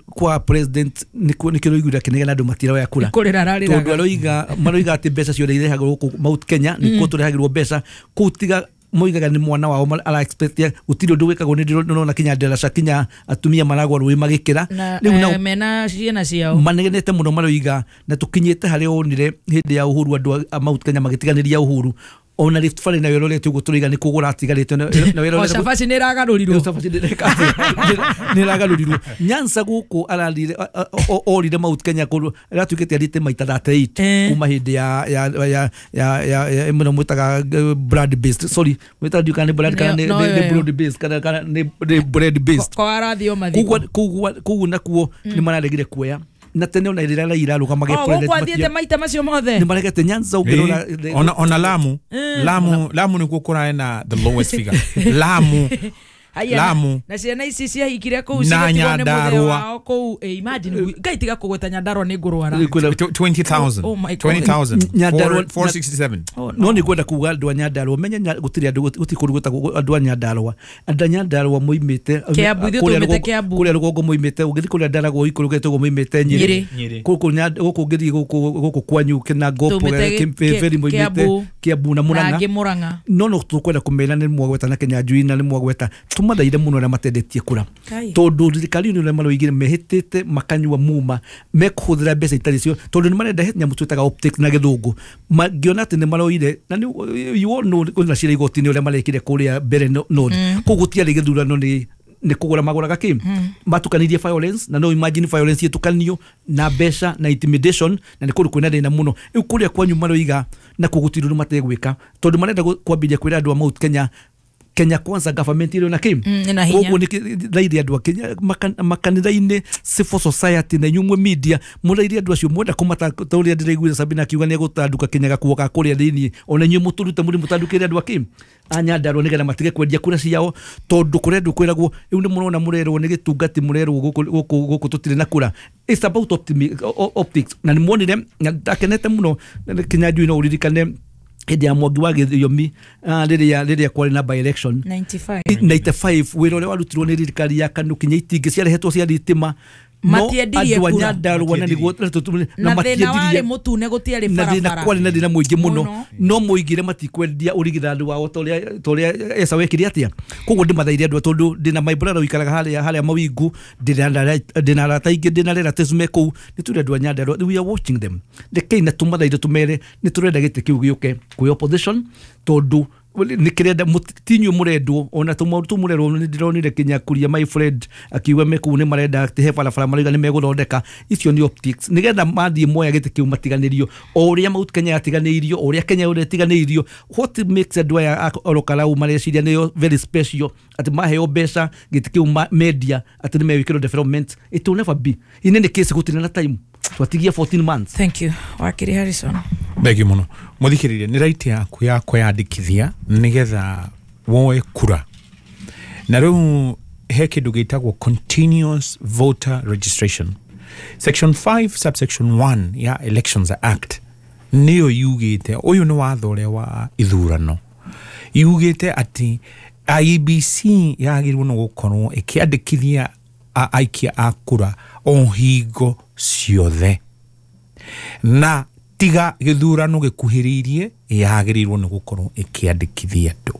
kwa president nikio roiguire akinegena andu matiroya kura tondu aroiga maroiga ati mbeca ciothe irehagwo guku Mount Kenya nikuo turehagirwo mbeca kuu tiga moigaga ni mwana wao ara expect gutiri undu wikagwo ni ndona kinya nderaca kinya atumia maragwa rui magikira riu na mena ciana ciao manegenete muno maroiga na tukinyite haria onire hindi ya Uhuru andu a Mount Kenya magitiganiria Uhuru ona Rift Valley nayo ĩrorete ũguo tũroiga nĩ kũgũra atigarĩte na o cabaci nĩ ĩragarũrirwo cabaci nĩ ĩragarũrirwo Nyanza gũkũ ararire orire Mount Kenya kũndũ ĩratuĩkĩte arĩte maita 38 kuma hĩndĩ ya ya ya ya mũno mwĩtaga blood based sorry mwĩtaga ndiũ kana nĩ blood kana nĩ blood based kana nĩ bread based kwa arathio mathiko koguo nakuo nĩ mararegire kuoya na tene ona rĩrĩa Raila arũgamage president gũkũ athiĩte maita macio mothe nĩ maregete Nyanza ũngĩrora ona Lamu Lamu nĩkuo kũrae na the lowest figure Lamu Lamu na ciana ici ciahikire kũu cigatigwo nĩ mũthee wao kũu imagine Ngai tiga kũgweta Nyandarua nĩ ngũrwara 20,000 20,000 467 no nĩ ngwenda kuga andũ a Nyandarua menye gũtirĩ andũ gũtirĩ kũndũ gwĩtagwo andũ a Nyandarua andũ a Nyandarua moimĩte kũrĩa rũgongo moimĩte ũngĩthiĩ kũrĩa Ndaragwo ikũrũkĩte ũguo moimĩte Nyĩrĩ gũkũ ũngĩthiĩ gũkũ kwanyu Kinangop Kĩmĩbĩri moimĩte Kiambu na Murang'a no no tũkwenda kũmera nĩ mwagweta na Kĩnyanjui na nĩ mwagweta tũmathaire mũno arĩa matendetie kura tondũ thirikari nĩ ũrĩa maroigire mehĩtĩte makanyua muma mekũhũthĩra mbeca itarĩ cio tondũ nĩ marenda nyamũ twĩtaga optics na gĩthũngũ mangĩona atĩ nĩ maroire na you all know kwĩna cira igoti-inĩ ũrĩa marekire kũrĩa mbere north koguo gũtiarĩ gĩthurano nĩ kũgũra magũraga kĩ matukanirie violence na no imagine violence ĩtukanio na mbeca na intimidation na nĩ kũndũ kwĩna thĩna mũno rĩu kũrĩa kwanyu maroiga na kũu gũtirĩ ũndũ mategwĩka tondũ marenda kwambĩrĩria kwĩra andũ a Mount Kenya Kenya Kwanza government ĩrĩ na kĩ koguo nĩ thaire andũ a Kenya makanitha-inĩ civil society na inyuĩ media mũraire andũ acio mwenda kũmata ta ũrĩa ndĩraiguire Sabina akiuga nĩ egũtanduka Kenya gakuo ga kũrĩa thĩiniĩ ona inyuĩ mũtũrute mũrĩ mũtandukĩre andũ a kĩ a Nyandarua nĩgetha matige kwendia kura ciao tondũ kũrĩa andũ kwĩragwo rĩu nĩ mũrona mũrerwo nĩ gĩtungati mũrerwo gũkũ tũtirĩ na kura. It's about optics na nĩ muonire ndakenete mũno Kĩnyanjui no ũririkane hĩndĩ ya Mwangi wa Gĩthiomi rĩrĩa kwarĩ na by election 95 wĩra ũrĩa warutirwo nĩ thirikari ya KANU kinya itingĩ ciarehetwo cia thitima Matiendirie andũ a kura. Nyandarua na nĩguo na thĩna warĩ mũtune gũtiarĩ na thĩna barabara kwarĩ na thĩna mũingĩ mũno Mũno. no mũigire matikwendia ũrigithathi wao ta ũrĩa Esau ekire atĩa. Koguo ndĩmathaire andũ tondũ ndĩna my brother ũikaraga harĩa mawingu, ndĩna arata aingĩ, ndĩna relatives me kũu, nĩ tũrĩ andũ a Nyandarua, we are watching them. Rekei na tũmathaire tũmere nĩ tũrenda gĩtĩ kĩu gĩũke kwĩ opposition tondũ nĩ kĩrenda ti inyuĩ mũrendwo ona tũmaũndũ tũu mũrerwo. Nĩ ndĩronire kinya kuria my friend akiuga me kũu nĩ marenda atĩ he barabara marauga nĩ megũthondeka. Icio nĩ optics nĩgetha mathiĩ moya gĩtĩ kĩu matiganĩrio o ũrĩa Mount Kenya yatiganĩirio, o ũrĩa Kenya ũrĩa ĩtiganĩirio. What makes andũ aya a Orokarau mareciria nĩo very special atĩ maheo mbeca gĩtĩ kĩu media atĩ nĩ megwĩkĩrwo development? It will never be. In any case gũtirĩ na time, twatigia 14 months. Thank you, wakiri Harrison. Thengiũ mũno mũthikĩrĩria. Nĩ right yaku ya kwĩyandĩkithia nĩgetha woe kura, na rĩu he kĩndũ gĩtagwo continuous voter registration. Section 5 subsection 1 ya Elections Act nĩyo yugĩte, ũyũ nĩ watho ũrĩa wa ithurano, yugĩte atĩ IEBC yagĩrĩirwo nĩ gũkorwo ĩkĩandĩkithia aikia a kura o hingo ciothe, na tiga gĩthurano gĩkuhĩrĩirie yagĩrĩirwo nĩ gũkorwo ĩkĩandĩkithia andũ.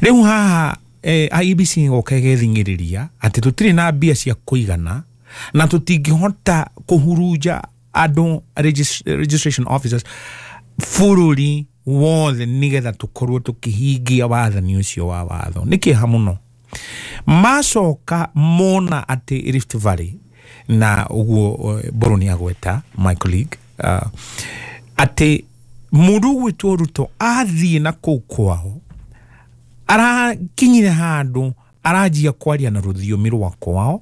Rĩu haha IEBC ĩgoka ĩgething'ĩrĩria atĩ tũtirĩ na mbia cia kũigana na tũtingĩhota kũhurunja andũ registration officers bũrũri wothe nĩgetha tũkorwo tũkĩhingia wathani ũcio wa watho. Nĩ kĩeha mũno macoka mona atĩ Rift Valley na ũguo Mbũrũ nĩ agweta my colleague atĩ mũndũ ũgwĩtwo Ruto athiĩ na kũu kwao arakinyire handũ aranjia kwaria na rũthiomi rwa kwao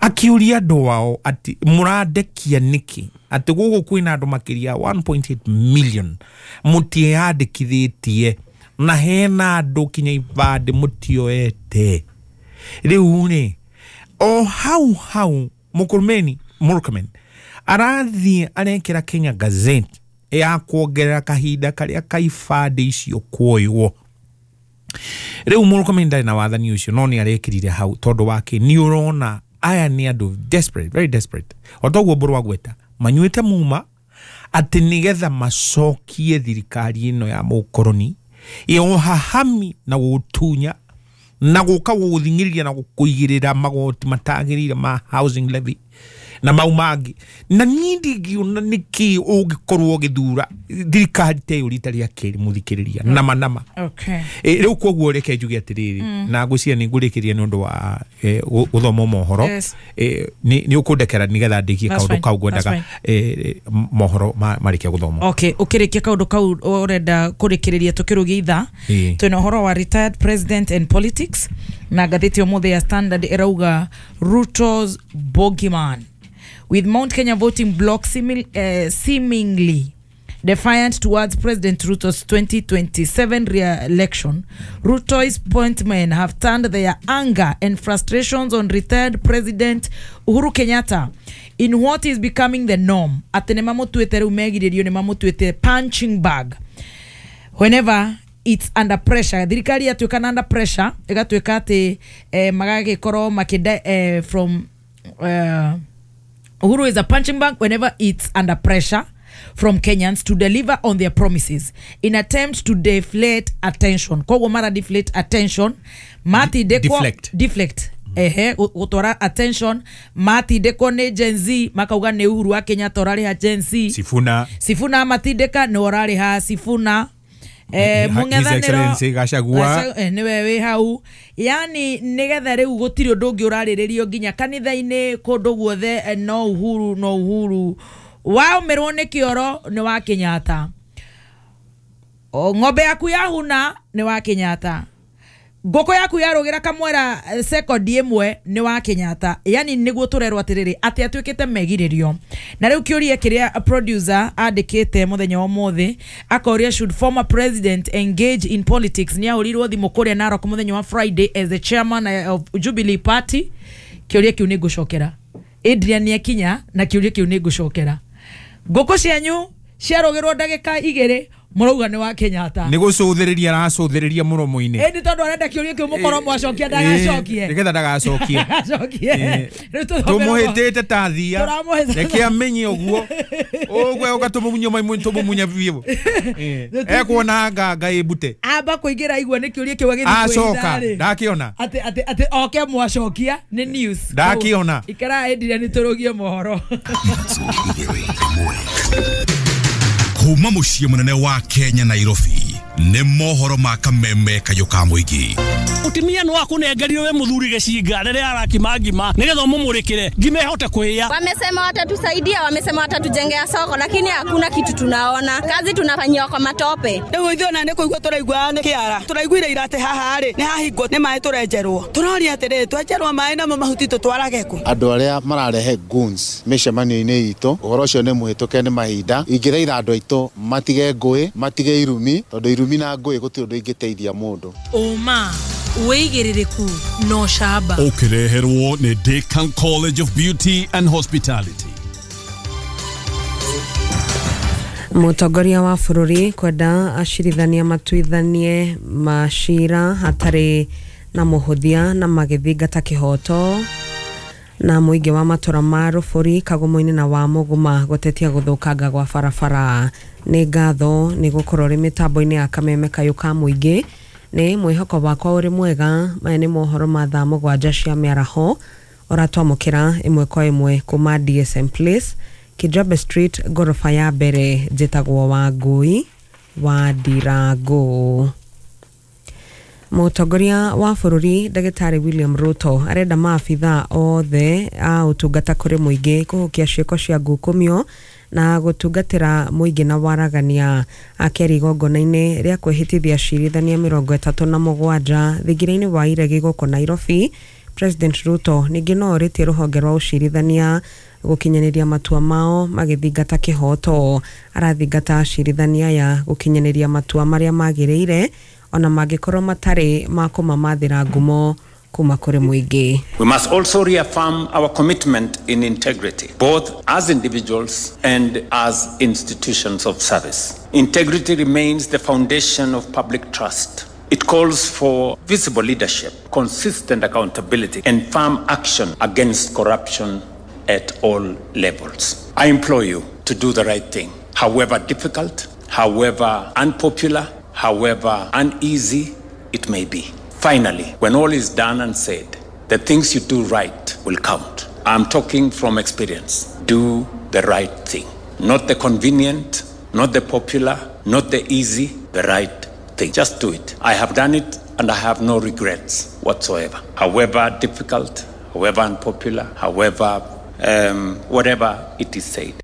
akiũria andũ ao atĩ mũrandekia nĩkĩ atĩ gũkũ kwĩna andũ makĩria 1.8 million mũtiĩyandĩkithĩtie na hena andũ kinya ibandĩ mũtioete. Rĩu rĩ o hau hau Murkomen arathiĩ arekĩra Kenya Gazette ya kuongerera kahinda karĩa ka ibandĩ icio kuoywo. Rĩu Murkomen ndarĩ na wathani ũcio no nĩ arekĩrire hau tondũ wake nĩ ũrona aya nĩ andũ desperate, very desperate, o toguo Mbũrũ agweta manyuĩte muma atĩ nĩgetha macokie thirikari ĩno ya mũkoroni ya ũhahami na gũtunya na gũka gũgũthing'ĩrĩria na gũkũigĩrĩra magoti matagĩrĩire ma housing levy na mau mangĩ. Na niĩ ndingĩona nĩkĩ ũngĩkorwo ũgĩthura thirikari ta ĩyo rita rĩa kerĩ mũthikĩrĩria nama nama. Okay. Rĩu koguo reke njuge atĩrĩrĩ na ngwĩciria nĩ ngũrĩkĩria nĩ ũndũ wa gũthoma mohoro. Nĩ ũkũndekera nĩgetha ndĩkie kaũndũ kau ngwendaga mohoro marĩkia gũthoma. Okay, ũkĩrĩkia kaũndũ kau ũrenda kũrĩkĩrĩria tũkĩrũgia ithaa twĩna ũhoro wa retired president and politics na ngathĩti ũmũthĩ ya Standard ĩrauga Ruto's bogeyman with Mount Kenya voting bloc seemingly defiant towards President Ruto's 2027 re-election. Ruto's appointment have turned their anger and frustrations on retired President Uhuru Kenyatta in what is becoming the norm. Atĩ nĩmamũtuĩte rĩu megirĩrio nĩmamũtuĩte punching bag whenever it's under pressure. Thirikari yatuĩka na under pressure ĩgatuĩka atĩ magagĩkorwo makĩnda from Uhuru is a punching bag whenever it's under pressure from Kenyans to deliver on their promises in attempt to deflate attention. Koguo mara deflate attention matindĩkwo deflect ehe gũtwara attention matindĩkwo nĩ Gen Z makauga nĩ Uhuru wa Kenyatta ũrarĩha Gen Z. Sifuna matindĩka nĩ ũrarĩha Sifuna. Mũng'ethanĩro Gachagua nĩwe wĩ hau. Yani nĩgetha rĩu gũtirĩ ũndũ ũngĩ ũrarĩrĩrio nginya kanitha-inĩ kũndũ guothe no Uhuru no Uhuru. Waũmĩrwo nĩ kĩoro nĩ wa Kenyatta, ng'ombe yaku yahuna nĩ wa Kenyatta, ngũkũ yaku yarũgĩra kamwera sekondi ĩmwe nĩ wa Kenyatta. Yani nĩguo tũrerwo atĩrĩrĩ atĩ atuĩkĩte megirĩrio. Na rĩu kĩũria kĩrĩa producer andĩkĩte mũthenya wa ũmũthĩ akoria should former president engage in politics. Nĩ ahũrirwo thimũ kũrĩa Narok mũthenya wa Friday as the chairman of Jubilee Party. Kĩũria kĩu nĩ ngũcokera Adrian nĩakinya na kĩũria kĩu nĩ ngũcokera. Ngũkũ cianyu ciarũgĩrwo ndagĩka igĩrĩ Mũrauga nĩ wa Kenyatta. Nĩ gũcũthĩrĩria aracũthĩrĩria mũromo-inĩ. Ĩndĩ tondũ arenda kĩũria kĩu mũkorwo mwacokia ndagacokie. Nĩgetha ndagacokie. Tũmũhĩtĩte ta thia. Reke amenye ũguo. Ũguo ũga tũmũmunye maimũ tũmũmunya biũ. Ekuona nganga ĩmbute. Amba kũingĩra igua nĩ kĩũria kĩu agĩthiĩ kwĩhitha. Acoka ndakĩona. Atĩ oke mwacokia nĩ news. Ndakĩona. Ikara ĩndire nĩ tũrũgie mohoro. Kuma muciĩ mũnene wa Kenya Nairobi nĩ mohoro ma kameme kayũ ka mũingĩ. Mũtumia nĩ wakũnengerio we mũthuri gĩcinga rĩrĩa arakima ngima nĩgetha ũmũmũrĩkĩre ngima ĩhote kũhĩa. Wamesema watatusaidia, wamesema watatujengea soko, lakini hakuna kitu tunaona. Kazi tunafanyiwa kwa matope. Rĩu ithuĩ ona nĩ kũigua tũraigua nĩ kĩara. Tũraiguire ira atĩ haha rĩ nĩ hahingwo nĩ maĩ tũrenjerwo. Tũroria atĩrĩrĩ twenjerwo maĩ namo mahuti tũtwarage kũ? Andũ arĩa mararehe goons mĩcemanio-inĩ itũ, ũhoro ũcio nĩ mũhĩtũke nĩ mahinda. Ingĩthaitha andũ aitũ matige ngũĩ, matige irumi, tondũ irumi na ngũĩ gũtirĩ ũndũ ingĩteithia mũndũ. Ũma wĩigĩrĩrĩku no camba. Ũkĩreherwo nĩ Decan College of Beauty and Hospitality. Mũtongoria wa bũrũri kwenda acirithania matuithanie macira hatarĩ na mũhũthia na magĩthingata kĩhoto na mũingĩ wa matũra ma Rũbũri Kagumo-inĩ na wa Mũguma gũtetia gũthũkanga gwa barabara. Nĩ ngatho nĩ gũkorwo rĩ mĩtambo-inĩ ya kameme kayũ ka mũingĩ. Nĩ mwĩhoko wakwa ũrĩ mwega. Maya nĩ mohoro ma thaa 7 cia mĩaraho ũratwamũkĩra ĩmwe kwa ĩmwe kuma DSM Place, Kijabe Street, ngoroba ya mbere. Njĩtagwo Wangui wa Ndirango. Mũtongoria wa bũrũri Ndagĩtarĩ William Ruto arenda maabithaa othe a ũtungata kũrĩ mũingĩ kũhukia ciĩko cia ngukumio na gũtungatĩra mũingĩ na waragania. Akĩaria igongona-inĩ rĩa kwĩhĩtithia acirithania 37 thingira-inĩ wa Iregi gũkũ Nairobi, President Ruto ningĩ no orĩtie rũhonge rwa ũcirithania gũkinyanĩria matua mao magĩthingata kĩhoto. Arathingata acirithania aya gũkinyanĩria matua marĩa magĩrĩire ona mangĩkorwo matarĩ ma kũmamathĩra ngumo kuma kũrĩ mũingĩ. We must also reaffirm our commitment in integrity, both as individuals and as institutions of service. Integrity remains the foundation of public trust. It calls for visible leadership, consistent accountability, and firm action against corruption at all levels. I implore you to do the right thing, however difficult, however unpopular, however uneasy it may be. Finally, when all is done and said, the things you do right will count. I'm talking from experience. Do the right thing. Not the convenient, not the popular, not the easy, the right thing. Just do it. I have done it and I have no regrets whatsoever. However difficult, however unpopular, however, whatever it is said.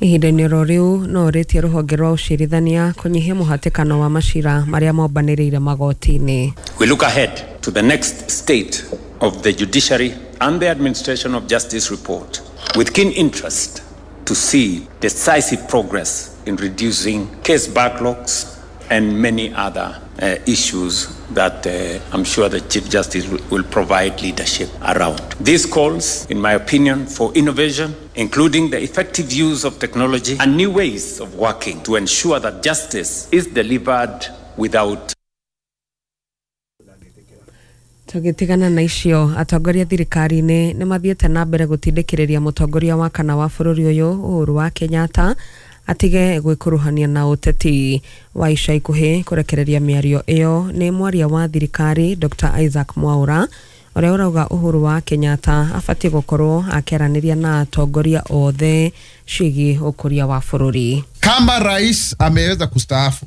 Ihinda-inĩ oro rĩu no ũrĩtie rũhonge rwa ũcirithania kũnyihia mũhatĩkano wa macira marĩa mombanĩrĩire magoti-inĩ. We look ahead to the next state of the judiciary and the administration of justice report with keen interest to see decisive progress in reducing case backlogs and many other issues that I'm sure the Chief Justice will provide leadership around. This calls, in my opinion, for innovation, including the effective use of technology and new ways of working to ensure that justice is delivered without. Tũgĩtigana na icio, atongoria thirikari-inĩ nĩ mathiĩte na mbere gũtindĩkĩrĩria mũtongoria wa kana wa bũrũri ũyũ Uhuru wa Kenyatta atige gwĩkuruhania na ũteti wa ica ikuhĩ. Kũrekereria mĩario ĩyo nĩ mwaria wa thirikari Dr. Isaac Mwaura ũrĩa ũrauga Uhuru wa Kenyatta abatiĩ gũkorwo akĩaranĩria na atongoria othe ciĩgiĩ ũkũria wa bũrũri. Kama rais ameweza kustaafu,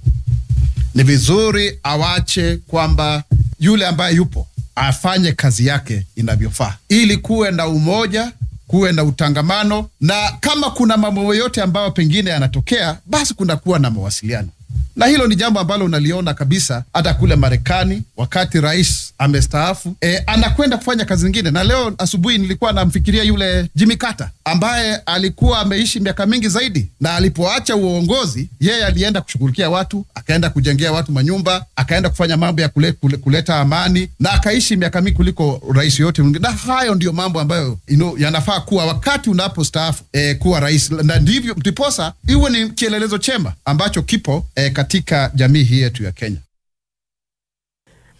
ni vizuri awache kwamba yule ambaye yupo afanye kazi yake inavyofaa, ili kuwe na umoja, kuwe na utangamano, na kama kuna mambo yote ambayo pengine yanatokea, basi kuna kuwa na mawasiliano. Na hilo ni jambo ambalo unaliona kabisa hata kule Marekani, wakati rais amestaafu, anakwenda kufanya kazi nyingine. Na leo asubuhi nilikuwa namfikiria yule Jimmy Carter ambaye alikuwa ameishi miaka mingi zaidi, na alipoacha uongozi yeye alienda kushughulikia watu, akaenda kujengea watu manyumba, akaenda kufanya mambo ya kuleta amani, na akaishi miaka mingi kuliko rais yote mwingine. Na hayo ndio mambo ambayo yanafaa kuwa wakati unapostaafu kuwa rais, na ndivyo ndiposa iwe ni kielelezo chema ambacho kipo katika jamii hii yetu ya Kenya.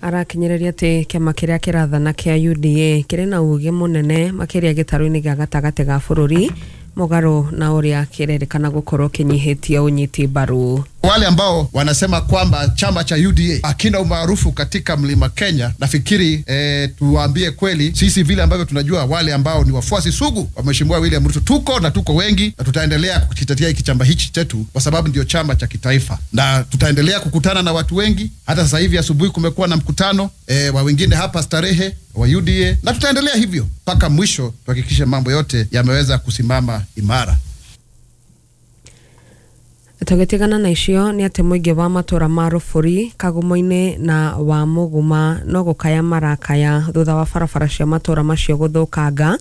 Arakinyereria ati kiama kiria kirathana kia UDA kiri na uge munene makiria gitaru-ini gia gatagati ga bururi mugaro na uria kirerikana gukorwo kinyihitie unyiti mbaru. Wale ambao wanasema kwamba chama cha UDA hakina umaarufu katika mlima Kenya, nafikiri tuwaambie kweli, sisi vile ambavyo tunajua wale ambao ni wafuasi sugu wa Mheshimiwa William Ruto tuko na tuko wengi, na tutaendelea kukitetea hiki chama hichi chetu kwa sababu ndio chama cha kitaifa, na tutaendelea kukutana na watu wengi. Hata sasa hivi asubuhi kumekuwa na mkutano wa wengine hapa Starehe wa UDA, na tutaendelea hivyo mpaka mwisho tuhakikishe mambo yote yameweza kusimama imara. Tũgĩtigana na icio nĩ atĩ mũingĩ wa matũra ma Rũbũri Kagumo-inĩ na wa Mũguma no gũkaya marakaya thutha wa barabara cia matũra macio gũthũkanga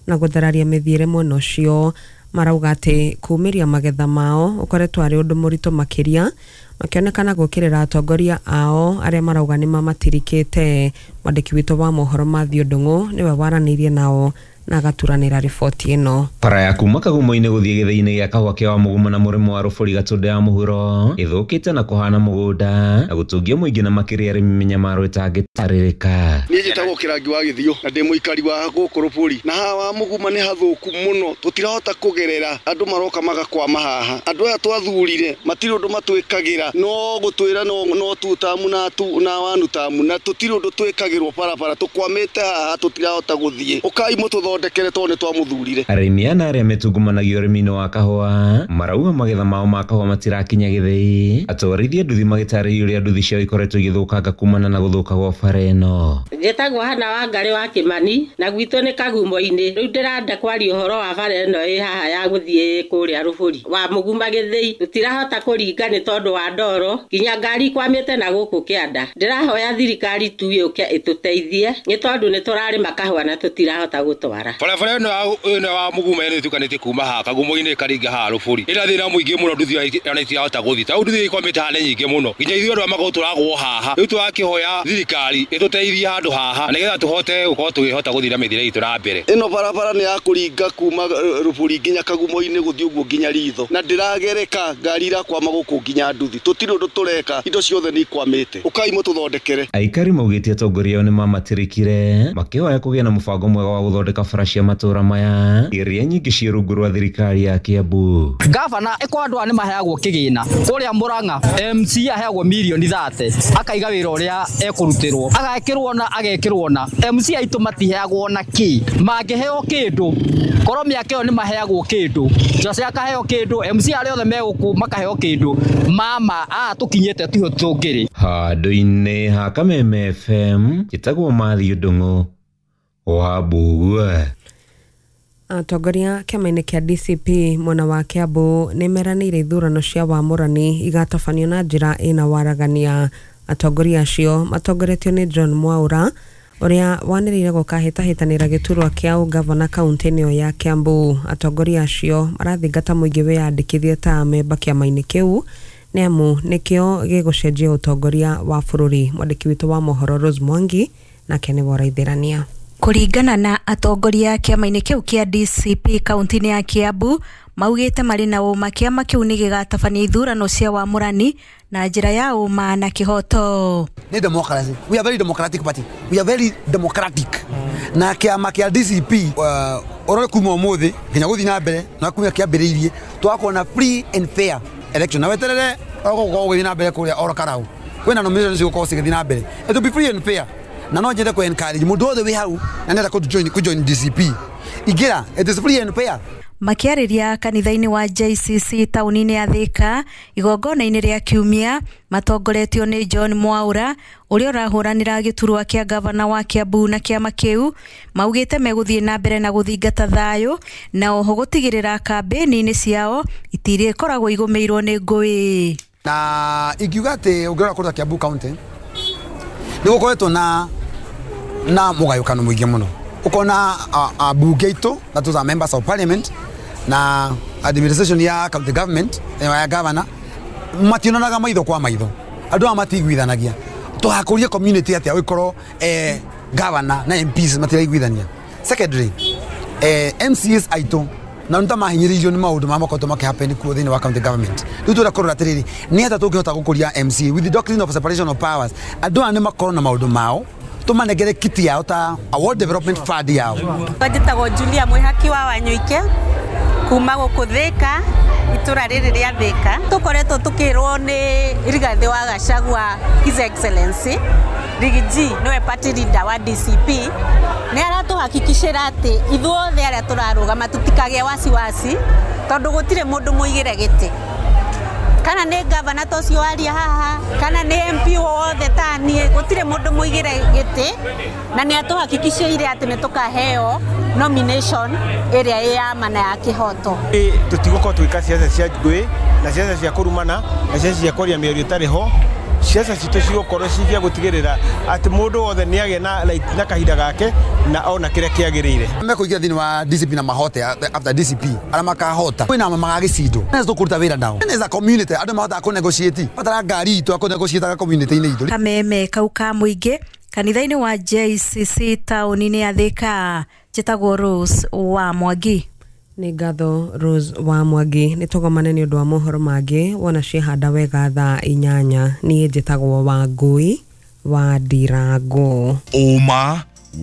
na gũthararia mĩthiĩre mwena ũcio. Marauga atĩ kumĩria magetha mao ũkoretwo arĩ ũndũ mũritũ makĩria, makĩonekana gũkĩrĩra atongoria ao arĩa marauga nĩ mamatirikĩte. Mwandĩki witũ wa mohoro Mathew Ndung'u nĩwe waranĩirie nao na agaturanĩra riboti ĩno. Bara ya kuma Kagumo-inĩ gũthiĩ gĩthĩi-inĩ gĩa kahũa kĩa wa Mũguma na mũrĩmo wa Rũbũri Gatũndũ ya mũhuro ĩthũkĩte na kũhana mũgũnda na gũtũngia mũingĩ na makĩria arĩmi mĩnyamaro ĩtangĩtarĩrĩka. Niĩ njĩtagwo Kĩrangi wa Gĩthio na ndĩ mũikari wa gũkũ Rũbũri, na haha wa Mũguma nĩ hathũku mũno, tũtirahota kũgerera, andũ maroka magakwama haha. Andũ aya twathurire matirĩ ũndũ matwĩkagĩra, no gũtwĩra no tu tamu na tu na wanu tamu, na tũtirĩ ũndũ twĩkagĩrwo barabara, tũkwamĩte haha tũtirahota gũthiĩ. Ũkai mũtũthondekere tondũ nĩ twamũthurire. Arĩmi ana arĩa metungumanagia ũrĩmi-inĩ wa kahũa marauga magetha mao ma kahũa matirakinya gĩthĩi. Atwarithia nduthi magĩtarĩria ũrĩa nduthi ciao ikoretwo igĩthũkanga kumana na gũthũka gwa bara ĩno. Njĩtagwo Hana Wangarĩ wa Kĩmani na gwitũ nĩ Kagumo-inĩ. Rĩu ndĩrenda kwaria ũhoro wa bara ĩno ĩ haha ya gũthiĩ kũrĩa Rũbũri wa Mũguma gĩthĩi. Tũtirahota kũringa nĩ tondũ wa ndoro, nginya ngari ikwamĩte na gũkũ kĩanda. Ndĩrahoya thirikari tu yũke ĩtũteithie nĩ tondũ nĩ tũrarĩma kahũa na tũtirahota gũtwara. Barabara ĩno wa Mũguma ĩno ĩtukanĩtie kuma haha Kagumo-inĩ ĩkaringa haha Rũbũri. Ĩna thĩna mũingĩ mũno, nduthi ona itirahota gũthiĩ. Ta nduthi ikwamĩte haha nĩ nyingĩ mũno, nginya ithuĩ andũ a magũrũ tũragwo haha. Rĩu tũrakĩhoya thirikari ĩtũteithie handũ haha nĩgetha tũhote gũkorwo tũkĩhota gũthiĩ na mĩthiĩre itũ na mbere. Ĩno barabara nĩ ya kũringa kuma Rũbũri nginya Kagumo-inĩ gũthiĩ ũguo nginya Ritho, na ndĩragereka, ngari irakwama gũkũ nginya nduthi. Tũtirĩ ũndũ tũreka, indo ciothe nĩ ikwamĩte. Ũkai mũtũthondekere. Aikari maugĩte atongoria ao nĩ mamatirikire makĩhoya kũgĩa na mũbango mwega wa gũthondeka bara cia matũra maya iria nyingĩ ciĩ rungu rwa thirikari ya Kiambu. Gavana ĩko andũ aya nĩ maheagwo kĩgĩna kũrĩa Murang'a, MC aheagwo mirioni 30 akaiga wĩra ũrĩa ekũrutĩrwo, agekĩrwo na agekĩrwo na MC aitũ matiheagwo na kĩ, mangĩheo kĩndũ korwo mĩaka ĩyo nĩ maheagwo kĩndũ, Jose akaheo kĩndũ, MC arĩa othe me gũkũ makaheo kĩndũ, mama aa tũkinyĩte tiho tũngĩrĩ. Handũ-inĩ ha Kameme FM njĩtagwo Mathew Ndung'u wa Mbugua. Atongoria kĩama-inĩ kĩa DCP mwena wa Kiambu nĩ meranĩire ithurano cia wamũrani igatabanio na njĩra ĩna waragania. Atongoria acio matongoretio nĩ John Mwaura ũrĩa wanĩrĩire gũkahĩtahĩtanĩra gĩturwa kĩa ũgavana kaunti-inĩ ĩyo ya Kiambu. Atongoria acio marathingata mũingĩ wĩyandĩkithie ta amemba kĩama-inĩ kĩu nĩ amu nĩkĩo gĩgũcenjia ũtongoria wa bũrũri. Mwandĩki witũ wa mohoro Rose Mwangi nake nĩwe ũraithĩrania. Kũringana na atongoria kĩama-inĩ kĩu kĩa DCP kaunti-inĩ ya Kiambu maugĩte marĩ na ũma kĩama kĩu nĩ gĩgatabania ithurano cia wamũrani na njĩra ya ũma na kĩhoto. Nĩ democracy. We are very democratic party. We are very democratic. Na kĩama kĩa DCP ũrore kuma ũmũthĩ nginya gũthiĩ na mbere na kuma kĩambĩrĩirie twakorwo na free and fair election. Na weterere ũgũkorwo ũgĩthiĩ na mbere kũrĩa oro Karau. Kwĩna nomination cigũkorwo cigĩthiĩ na mbere. It will be free and fair. Na no nyende ku encourage mũndũ wothe wĩ hau na nenda ku join DCP. Ingĩra, it is free and fair. Makĩarĩria kanitha-inĩ wa JCC taũni-inĩ ya Thika igongona-inĩ rĩa kiumia matongoretio nĩ John Mwaura ũrĩa ũrahũranĩra gĩturwa kĩa gavana wa Kiambu na kĩama kĩu maugĩte megũthiĩ na mbere na gũthingata thayũ na oho gũtigĩrĩra kambĩni-inĩ ciao itirĩkoragwo igũmĩirwo nĩ ngũĩ. Na ingiuga atĩ ũngĩrora kũrĩa Kiambu County nĩ gũkoretwo na Na mũgayũkano mũingĩ mũno. Ũkona ambunge aitũ, that was our members of parliament, na administration ya county government, ya governor, mationanaga maitho kwa maitho. Andũ aya matiguithanagia. Tũgakũria community atĩa ũgĩkorwo governor na MPs matiraiguithania. Secondary, MCAs aitũ na nĩ ta mahinyĩrĩirio nĩ maũndũ marĩa makoretwo makĩhappen kuo thĩinĩ wa county government. Rĩu tũrenda kũrora atĩrĩrĩ, nĩ atĩa tũngĩhota gũkũria MCA with the doctrine of separation of powers. Andũ aya nĩ makorwo na maũndũ mao, tũmanengere kiti yao ta award development fund yao. Njĩtagwo Julia Mwĩhaki wa Wanyuike kuma gũkũ Thĩka, itũra rĩrĩ rĩa Thĩka. Tũkoretwo tũkĩrwo nĩ Rigathĩ wa Gachagua His Excellency Riggy G nĩwe party leader wa DCP, nĩ aratũhakikicĩra atĩ ithuothe arĩa tũrarũgama tũtikagĩe wasiwasi tondũ gũtirĩ mũndũ mũigĩre gĩtĩ, kana nĩ gavana ta ũcio waria haha, kana nĩ MP wothe ta niĩ, gũtirĩ mũndũ mũigĩre gĩtĩ, na nĩ atũhakikicĩire atĩ nĩ tũkaheo nomination ĩrĩa ĩ ya ma na ya kĩhoto. Tũtigũkorwo tũgĩka ciaca cia ngũĩ na ciaca cia kũrumana na ciaca cia kwaria mĩario ĩtarĩ ho. Ciaca citũ cigũkorwo cicia gũtigĩrĩra atĩ mũndũ wothe nĩ agĩa na right na kahinda gake na ona kĩrĩa kĩagĩrĩire. Mekũingĩra thĩinĩ wa DCP na mahote after DCP arĩa makahota kwĩna magagĩcindwo nĩ tũkũruta wĩra nao. As a community andũ mahotaga kũ negotiate batara ngari itũ akũ negotiate community-inĩ itũ. Kameme kau ka mũingĩ kanitha-inĩ wa JCC taũni-inĩ ya Thĩka. Njĩtagwo Rose wa Mwangi. Nĩ ngatho Rose wa Mwangi. Nĩ tũgomane nĩ ũndũ wa mohoro mangĩ wona ciehanda wega thaa 8. Niĩ njĩtagwo Wangũi wa Ndirango. Ũma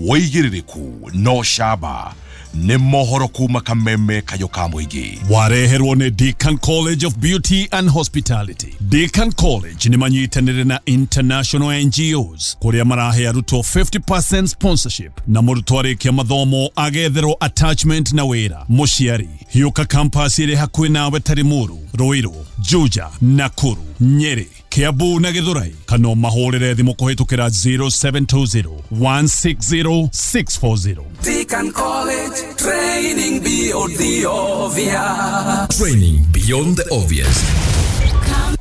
wĩigĩrĩrĩku no camba nĩ mohoro kuma Kameme kayo ka mũingĩ. Wareherwo nĩ Deacon College of Beauty and Hospitality. Deacon College nĩ manyitanĩire na international NGOs kũrĩa marahe arutwo 50% sponsorship na mũrutwo arĩkia mathomo agetherwo attachment na wĩra. Mũciari hiũka campus ĩrĩ hakuhĩ nawe ta Limuru, Ruiru, Juja, Nakuru, Nyeri, Kiambu na Githurai, kana mahũrĩre thimũ kũhĩtũkĩra 0720 160 640. Deacon College, training beyond the obvious. Training beyond the obvious.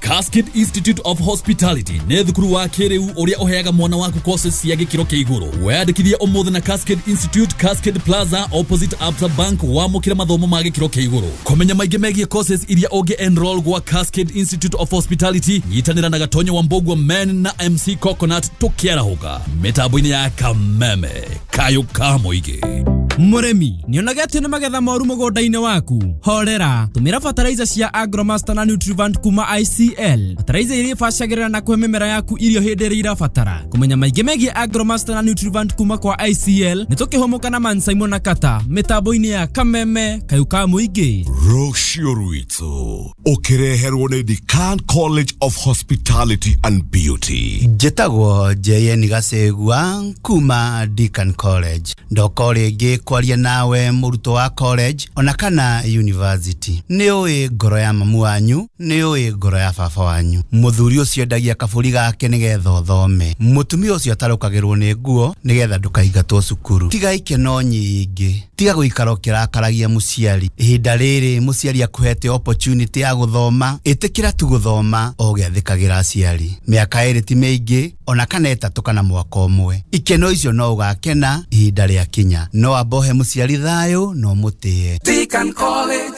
Cascade Institute of Hospitality nĩ thukuru wa kĩrĩu ũrĩa ũheaga mwana waku courses cia gĩkĩro kĩa igũrũ. Weyandĩkithie ũmũthĩ na Cascade Institute, Cascade Plaza opposite Absa Bank, wamũkĩre mathomo ma gĩkĩro kĩa igũrũ. Kũmenya maingĩ megiĩ courses iria ũngĩ enroll gwa Cascade Institute of Hospitality, nyitanĩra na Gatonyo wa Mbogua Men na MC Coconut tũkĩarahũka mĩtambo-inĩ ya Kameme kayũ ka mũingĩ. Mũrĩmi nĩonaga atĩ nĩ magetha moru mũgũnda-inĩ waku, horera, tũmĩra fertilizer cia Agromaster na Nutrivant kuma ICL. Fertilizer iria ibacagĩrĩra na kũhe mĩmera yaku irio hĩndĩ ĩrĩa irabatara. Kũmenya maingĩ megiĩ Agromaster na Nutrivant kuma kwa ICL nĩ tũkĩhũmũka na Man Simon na Kata mĩtambo-inĩ ya Kameme kayũ ka mũingĩ. Rũciũ rwitũ ũkĩreherwo nĩ Decan College of Hospitality and Beauty. Njĩtagwo JN Gacegua kuma Deacon College. Ndoka rĩngĩ kwaria nawe mũrutwo wa college ona kana university. Nĩ ũĩ ngoro ya mamu wanyu, nĩ ũĩ ngoro ya baba wanyu. Mũthuri ũcio endagia kabũri gake nĩgetha ũthome. Mũtumia ũcio atarũkagĩrwo nĩ nguo nĩgetha ndũkaingatwo cukuru. Tiga ikeno nyingĩ, tiga gũikara ũkĩrakaragia mũciari. Ihinda rĩrĩ mũciari akũhete opportunity ya gũthoma, ĩtĩkĩra tu gũthoma o ũgĩathĩkagĩra aciari. Mĩaka 2 ti mĩingĩ ona kana 3 kana mwaka ũmwe. Ikeno icio no ũgakena ihinda rĩakinya. No ambohe mũciari thayũ no mũtĩe. Deacon College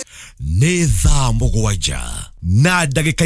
nĩ thaa 7 na ndagĩka